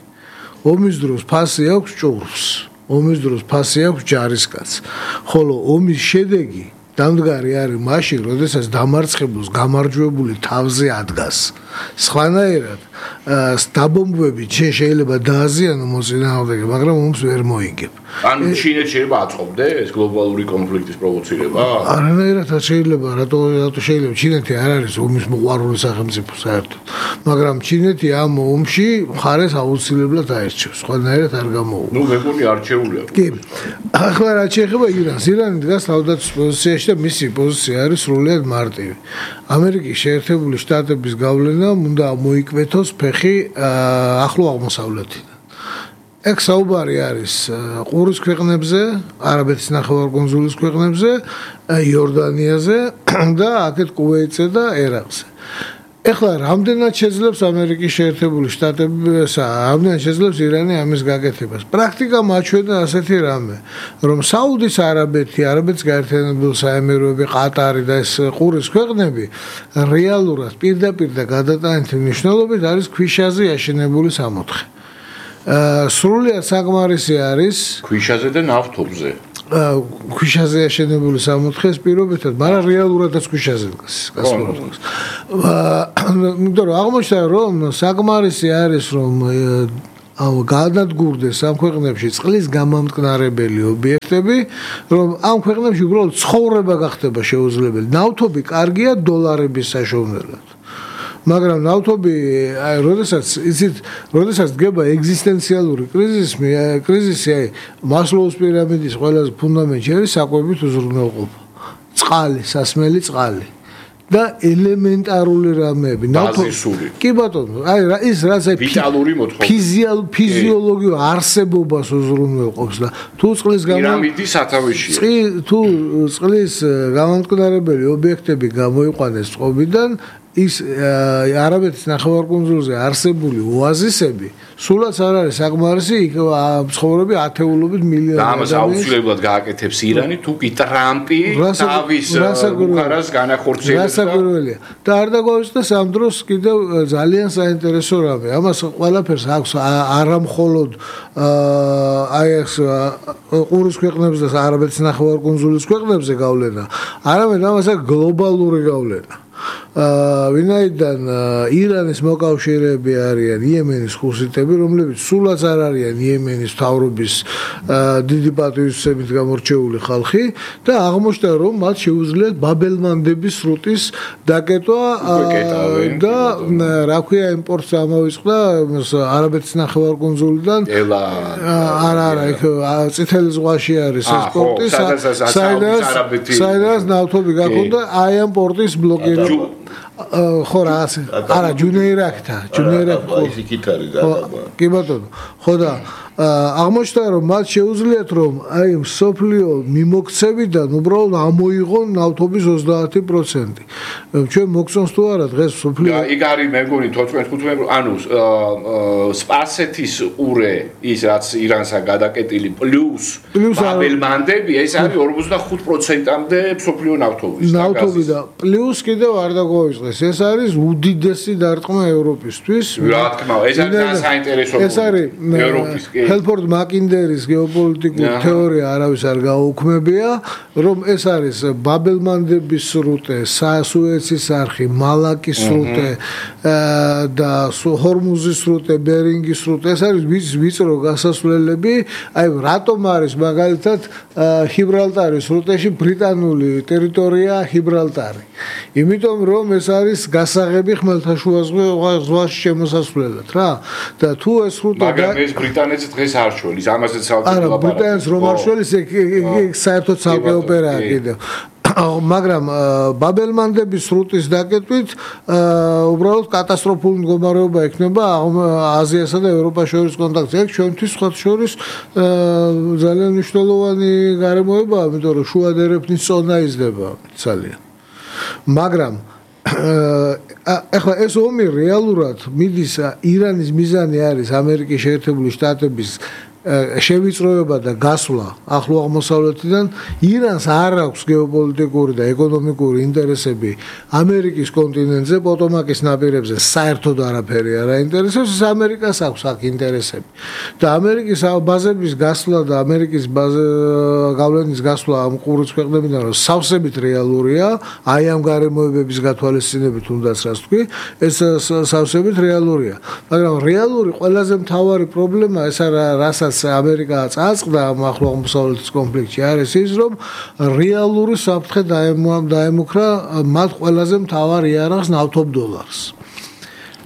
ომის დროს ფასი აქვს ჭურვს, ომის დროს ფასი აქვს ჯარისკაცს, ხოლო ომის შედეგი დამდგარი არის მაშინ, როდესაც დამარცხებულს გამარჯვებული თავზე ადგას. სხვანაირად, დაბომბვები ჩვენ შეიძლება დააზიანო მოწინააღმდეგე, მაგრამ ომს ვერ მოიგებ. ანუ ჩინეთს შეიძლება აწყობდე ეს გლობალური კონფლიქტის პროვოცირება? არანაირად შეიძლება, რატო რატო შეიძლება ჩინეთი არ არის ომის მოყვარული სახელმწიფო საერთოდ, მაგრამ ჩინეთი ამ ომში მხარეს აუცილებლად აერჩევს, სხვანაირად არ გამოუვა. ნუ მეგონი არჩეულია. კი. ახლა რა შეეხება ირანს, ირანი დგას თავდაცვის პოზიციაში და მისი პოზიცია არის სრულიად მარტივი. ამერიკის შეერთებული შტატების გავლენა უნდა მოიკვეთოს ფეხი ახლო აღმოსავლეთიდან. ეგ საუბარი არის ყურის ქვეყნებზე, არაბეთის ნახევარკუნძულის ქვეყნებზე, იორდანიაზე და აქეთ კუვეიტზე და ერაყზე. ეხლა რამდენად შეძლებს ამერიკის შეერთებული შტატებისა, რამდენად შეძლებს ირანი ამის გაკეთებას. პრაქტიკა მაჩვენდა ასეთი რამე, რომ საუდის არაბეთი, არაბეთის გაერთიანებული საემიროები, ყატარი და ეს ყურის ქვეყნები რეალურად პირდაპირ და გადატანითი მნიშვნელობით არის ქვიშაზე აშენებული სამოთხე. სრულიად საკმარისი არის ქვიშაზე და ნავთობზე. ქვიშაზე აშენებული სამოთხეს პირობითად, მაგრამ რეალურადაც ქვიშაზე დგას, გასულობს. იმიტომ რომ აღმოჩნდა რომ საკმარისი არის რომ განადგურდეს ამ ქვეყნებში წყლის გამამტკნარებელი ობიექტები, რომ ამ ქვეყნებში უბრალოდ ცხოვრება გახდება შეუძლებელი. ნავთობი კარგია დოლარების საშუალებლად. მაგრამ ნავთობი, აი, როდესაც იცით, როდესაც დგება ეგზისტენციალური კრიზისი, კრიზისი, აი, მასლოუს პირამიდის ყველაზე ფუნდამენტი არის საკვებით უზრუნველყოფა. წყალი, სასმელი წყალი. და ელემენტარული რამეები, ბაზისური. კი ბატონო, აი ის რაც აი ვიტალური მოთხოვნა. ფიზიოლოგიურ არსებობას უზრუნველყოფს და თუ წყლის პირამიდის სათავეში. თუ წყლის გამამტკნარებელი ობიექტები გამოიყვანეს წყობიდან ის არაბეთის ნახევარკუნძულზე არსებული ოაზისები სულაც არ არის საკმარისი იქ ცხოვრები ათეულობით მილიონი და ამას აუცილებლად გააკეთებს ირანი თუ კი ტრამპი თავის ბუქარას განახორციელებს გასაგროვია და არ დაგვაუწყდეს ამ დროს კიდევ ძალიან საინტერესო რამე ამას ყველაფერს აქვს არამხოლოდ აი ეს ყურის ქვეყნებზე და არაბეთის ნახევარკუნძულის ქვეყნებზე გავლენა არამედ ამას აქვს გლობალური გავლენა ვინაიდან ირანის მოკავშირეები არიან იემენის ხუსიტები, რომლებიც სულაც არ არიან იემენის მთავრობის დიდი პატივისცემით გამორჩეული ხალხი და აღმოჩნდა რომ მათ შეუძლიათ ბაბელმანდების სრუტის დაკეტვა და რა ქვია იმპორტს ამავიწყდა არაბეთის ნახევარკუნძულიდან არა არა იქ წითელი ზღვაში არის ეს პორტი საიდანაც ნავთობი გაქონდა აი ამ პორტის ბლოკირება ხო რა არა ჯუნეირაკთა ჯუნეირაკ ხო ის იქით არის გადაგვა კი ბატონო ხო და აღმოჩნდა რომ მათ შეუძლიათ რომ აი სოფლიო მიმოქცევიდან უბრალოდ ამოიღონ ნავთობის ოცდაათი პროცენტი ჩვენ მოგწონს თუ არა დღეს სოფლიო იქ არის მე მგონი თოთხმეტ ანუ სპარსეთის ყურე ის რაც ირანსა გადაკეტილი პლუს ბაბელმანდები ეს არის ორმოცდახუთ პროცენტამდე სოფლიო ნავთობის ნავთობი და პლუს კიდევ არ დაგვაუწყდეს ეს არის უდიდესი დარტყმა ევროპისთვის რა თქმა უნდა ეს არის საინტერესო ეს არის ევროპის ჰელფორდ მაკინდერის გეოპოლიტიკური თეორია არავის არ გაუქმებია, რომ ეს არის ბაბელმანდების სრუტე, სუეცის არხი, მალაკის სრუტე და ჰორმუზის სრუტე, ბერინგის სრუტე, ეს არის ვიწრო გასასვლელები, აი რატომ არის მაგალითად ჰიბრალტარის სრუტეში ბრიტანული ტერიტორია ჰიბრალტარი. იმიტომ რომ ეს არის გასაღები ხმელთაშუა ზღვაში შემოსასვლელად რა და თუ ეს სრუტე მაგრამ ეს ბრიტანეთს დღეს არ შველის ამასაც საუბარი არა ბრიტანეთს რომ არ შველის ეგ საერთოდ ცალკე ოპერაა კიდევ მაგრამ ბაბელმანდების სრუტის დაკეტვით უბრალოდ კატასტროფული მდგომარეობა ექნება აზიასა და ევროპას შორის კონტაქტზე. ეგ ჩვენთვის სხვა შორის ძალიან მნიშვნელოვანი გარემოებაა, იმიტომ რომ შუა დერეფნის წონა იზრდება ძალიან. მაგრამ ახლა ეს ომი რეალურად მიდის ირანის მიზანი არის ამერიკის შეერთებული შტატების შევიწროება და გასვლა ახლო აღმოსავლეთიდან ირანს არ აქვს გეოპოლიტიკური და ეკონომიკური ინტერესები ამერიკის კონტინენტზე, პოტომაკის ნაპირებზე საერთოდ არაფერი არ აინტერესებს, ეს ამერიკას აქვს აქ ინტერესები. და ამერიკის ბაზების გასვლა და ამერიკის გავლენის გასვლა ამ ყურის ქვეყნებიდან რომ სავსებით რეალურია, აი ამ გარემოებების გათვალისწინებით თუნდაც რაც თქვი, ეს სავსებით რეალურია. მაგრამ რეალური ყველაზე მთავარი პრობლემა ეს არა რასაც ამერიკა წააწყდა ამ ახლო აღმოსავლეთის კონფლიქტში არის ის რომ რეალური საფრთხე დაემუქრა მათ ყველაზე მთავარ იარაღს ნავთობ დოლარს.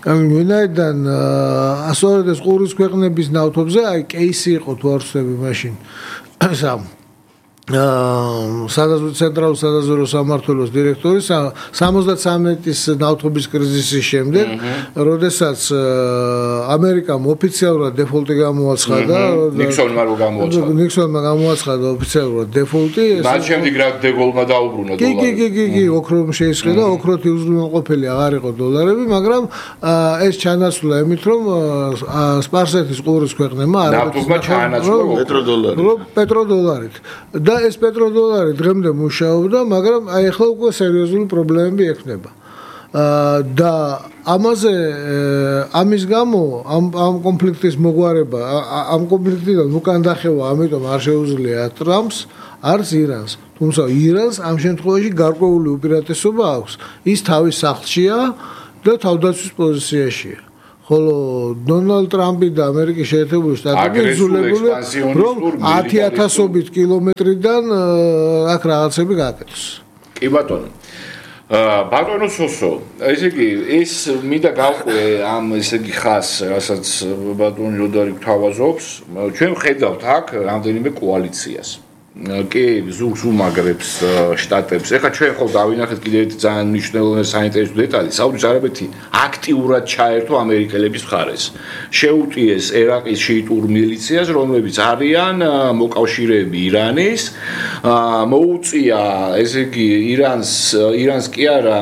ვინაიდან ასორდეს ყურის ქვეყნების ნავთობზე აი კეისი იყო თუ არ ვცდები მაშინ სამ სადაზვერვო ცენტრალურ სადაზვერვო სამმართველოს დირექტორი სამოცდათსამი წლის ნავთობის კრიზისის შემდეგ, როდესაც ამერიკამ ოფიციალურად დეფოლტი გამოაცხადა, ნიქსონმა რო გამოაცხადა. ნიქსონმა გამოაცხადა ოფიციალურად დეფოლტი. მას შემდეგ რა დეგოლმა დაუბრუნა დოლარი. კი, კი, კი, კი, ოქრომ შეისყიდა, ოქროთი უზრუნველყოფელი აღარ იყო დოლარები, მაგრამ ეს ჩანაცვლა ემით რომ სპარსეთის ყურის ქვეყნებმა ნავთობმა ჩაანაცვლა პეტროდოლარით. პეტროდოლარით. და ეს პეტროდოლარი დღემდე მუშაობდა, მაგრამ აი ახლა უკვე სერიოზული პრობლემები ექნება. და ამაზე ამის გამო ამ ამ კონფლიქტის მოგვარება, ამ კონფლიქტიდან უკან დახევა, ამიტომ არ შეუძლია ტრამპს, არც ირანს. თუმცა ირანს ამ შემთხვევაში გარკვეული უპირატესობა აქვს. ის თავის სახლშია და თავდაცვის პოზიციაშია. ხოლო დონალდ ტრამპი და ამერიკის შეერთებული შტატები იძულებული რომ ათი ათასობით კილომეტრიდან აქ რაღაცები გააკეთოს. კი ბატონო. ბატონო სოსო, ესე იგი ეს მინდა გავყვე ამ ესე იგი ხას, რასაც ბატონი როდარი გვთავაზობს, ჩვენ ხედავთ აქ რამდენიმე კოალიციას. კი, ზურგს უმაგრებს შტატებს. ეხლა ჩვენ ხო დავინახეთ კიდევ ერთი ძალიან მნიშვნელოვანი საინტერესო დეტალი. საუდის არაბეთი აქტიურად ჩაერთო ამერიკელების მხარეს. შეუტიეს ერაყის შიიტურ მილიციას, რომლებიც არიან მოკავშირეები ირანის. მოუწია, ესე იგი, ირანს, ირანს კი არა,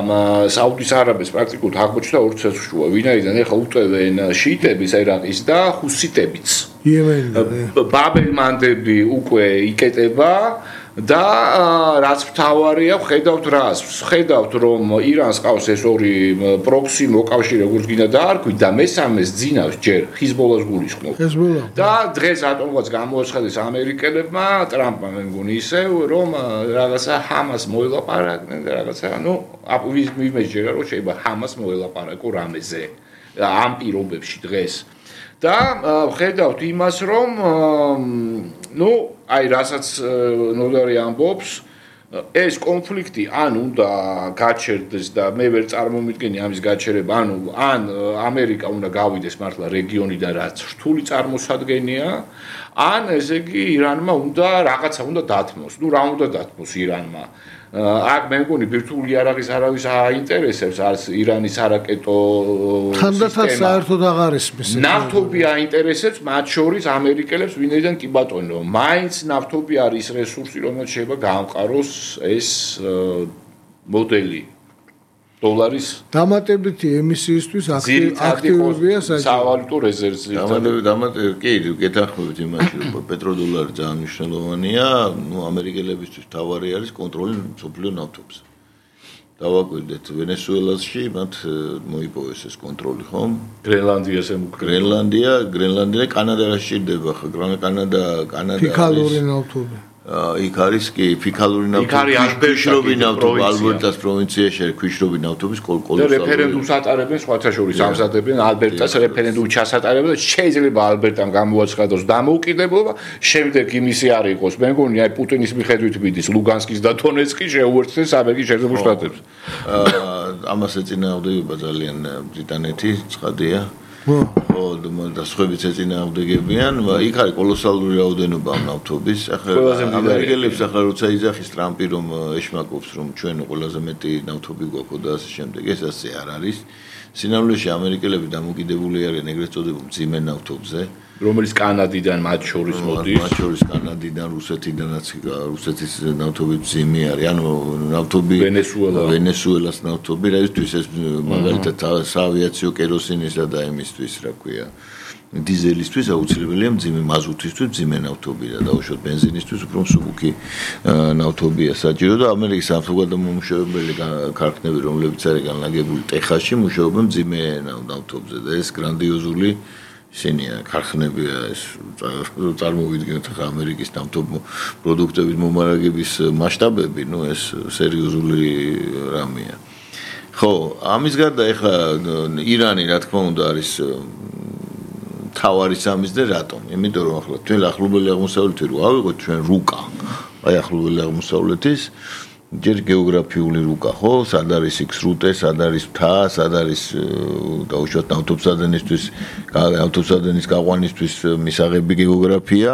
საუდის არაბეთს პრაქტიკულად აღმოჩნდა ორ ცეცხლშუა, ვინაიდან ეხლა უტევენ შიიტების ერაყის და ჰუსიტებიც. ბაბელმანდები უკვე იკეტება და რაც მთავარია, ხედავთ რას? ხედავთ რომ ირანს ყავს ეს ორი პროქსი მოკავშირე, როგორც გინდა დაარქვით და მესამეს ძინავს ჯერ ჰიზბოლას გულისხმობს. და დღეს ატომված გამოაცხადეს ამერიკელებმა, ტრამპმა მე მგონი ისევ, რომ რაღაცა ჰამას მოელაპარაკნენ და რაღაცა, ну, ვიმეჯერა რომ შეიძლება ჰამას მოელაპარაკო რამეზე ამ პირობებში დღეს. და ხედავთ იმას, რომ ნუ აი რასაც ნოდარი ამბობს, ეს კონფლიქტი ან უნდა გაჩერდეს და მე ვერ წარმომიდგენი ამის გაჩერება, ანუ ან ამერიკა უნდა გავიდეს მართლა რეგიონიდან, რაც რთული წარმოსადგენია, ან ესე იგი ირანმა უნდა რაღაცა უნდა დათმოს. ნუ რა უნდა დათმოს ირანმა? აქ მე მგონი ბირთვული იარაღის არავის აინტერესებს, არც ირანის არაკეტო თანდათან საერთოდ აღარ ისმის. ნავთობი აინტერესებს, მათ შორის ამერიკელებს, ვინაიდან კი ბატონო, მაინც ნავთობი არის რესურსი, რომელიც შეიძლება გაამყაროს ეს მოდელი დოლარის დამატებითი ემისიისთვის აქტივობია სავალუტო რეზერვზე. დამატებით, კი, გეთანხმებით იმაში, რომ პეტროდოლარი ძალიან მნიშვნელოვანია, ნუ ამერიკელებისთვის თავარი არის კონტროლი მსოფლიო ნავთობზე. დავაკვირდეთ ვენესუელაში, მათ მოიპოვეს ეს კონტროლი, ხომ? გრენლანდიას ემუქრება. გრენლანდია, გრენლანდია კანადა რა სჭირდება ხა? კანადა, კანადა ფიქალური ნავთობი. იქ არის კი ფიქალური ნავთობი, ქვიშრობი ნავთობი, ალბერტას პროვინციაში არის ქვიშრობი ნავთობის კოლკოლოსალური. და რეფერენდუმს ატარებენ სხვათა შორის ამზადებენ ალბერტას რეფერენდუმი ჩასატარებენ და შეიძლება ალბერტამ გამოაცხადოს დამოუკიდებლობა, შემდეგ იმისი არ იყოს. მე მგონი აი პუტინის მიხედვით მიდის ლუგანსკის და დონეცკი შეუერთდეს ამერიკის შეერთებულ შტატებს. ამას ეწინააღმდეგება ძალიან ბრიტანეთი, ცხადია. ხო, და სხვაებიც ეწინააღმდეგებიან, იქ არის კოლოსალური რაოდენობა ამ ნავთობის. ახლა ამერიკელებს ახლა როცა იძახის ტრამპი რომ ეშმაკობს რომ ჩვენ ყველაზე მეტი ნავთობი გვაქვს და ასე შემდეგ, ეს ასე არ არის. სინამდვილეში ამერიკელები დამოკიდებული არიან ეგრეთ წოდებულ მძიმე ნავთობზე, რომელიც კანადიდან მათ შორის მოდის. მათ შორის კანადიდან, რუსეთიდანაც, რუსეთის ნავთობი მძიმე არის. ანუ ნავთობი ვენესუელას ნავთობი, რაისთვის ეს მაგალითად საავიაციო კეროსინისა და იმისთვის, რა ქვია, დიზელისთვის აუცილებელია მძიმე მაზუთისთვის მძიმე ნავთობი და დაუშვათ ბენზინისთვის უფრო მსუბუქი ნავთობია საჭირო და ამერიკის სამხედრო-მომუშავებელი ქარხნები რომლებიც არის განლაგებული ტეხასში მუშაობენ მძიმე ნავთობზე და ეს გრანდიოზული ისინია ქარხნებია ეს წარმოვიდგინოთ ახლა ამერიკის ნავთობ პროდუქტების მომარაგების მასშტაბები ნუ ეს სერიოზული რამეა ხო ამის გარდა ახლა ირანი რა თქმა უნდა არის თავარი სამიზნე რატომ? იმიტომ რომ ახლა თქვენ ახლობელი აღმოსავლეთი რო ავიღოთ ჩვენ რუკა. აი ახლობელი აღმოსავლეთის ჯერ გეოგრაფიული რუკა ხო? სად არის იქ სრუტე, სად არის მთა, სად არის დაუშვათ ნავთობსადენისთვის, ნავთობსადენის გაყვანისთვის მისაღები გეოგრაფია.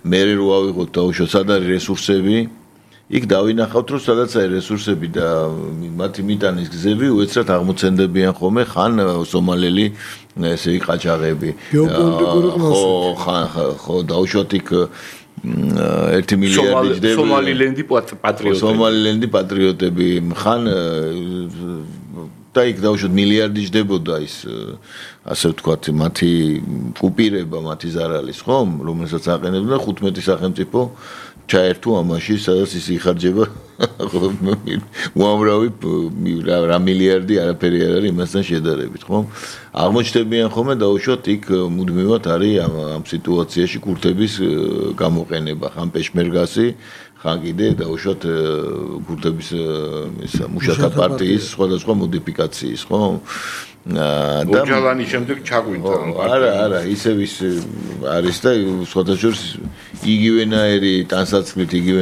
მერე რო ავიღოთ დაუშვათ სად არის რესურსები იქ დავინახავთ რომ სადაც არის რესურსები და მათი მიტანის გზები უეცრად აღმოცენდებიან ხოლმე ხან სომალელი ესე იგი ყაჩაღები ხო ხან ხო დაუშვათ იქ ერთი მილიარდი ჯდები სომალილენდი პატრიოტები სომალილენდი პატრიოტები ხან და იქ დაუშვათ მილიარდი ჯდებოდა ის ასე ვთქვათ მათი კუპირება მათი ზარალის ხო რომელსაც აყენებდა ხუთმეტი სახელმწიფო ჩაერთო ამაში, სადაც ის იხარჯება უამრავი რა მილიარდი არაფერი არ არის იმასთან შედარებით, ხო? აღმოჩნდებიან ხოლმე დაუშვათ იქ მუდმივად არის ამ სიტუაციაში კურთების გამოყენება, ხან პეშმერგასი, ხან კიდე დაუშვათ კურთების ისა მუშათა პარტიის სხვადასხვა მოდიფიკაციის, ხო? და ოჯალანის შემდეგ ჩაგვინდა არა არა ისევ ის არის და სხვათა შორის იგივენაირი ტანსაცმლით იგივე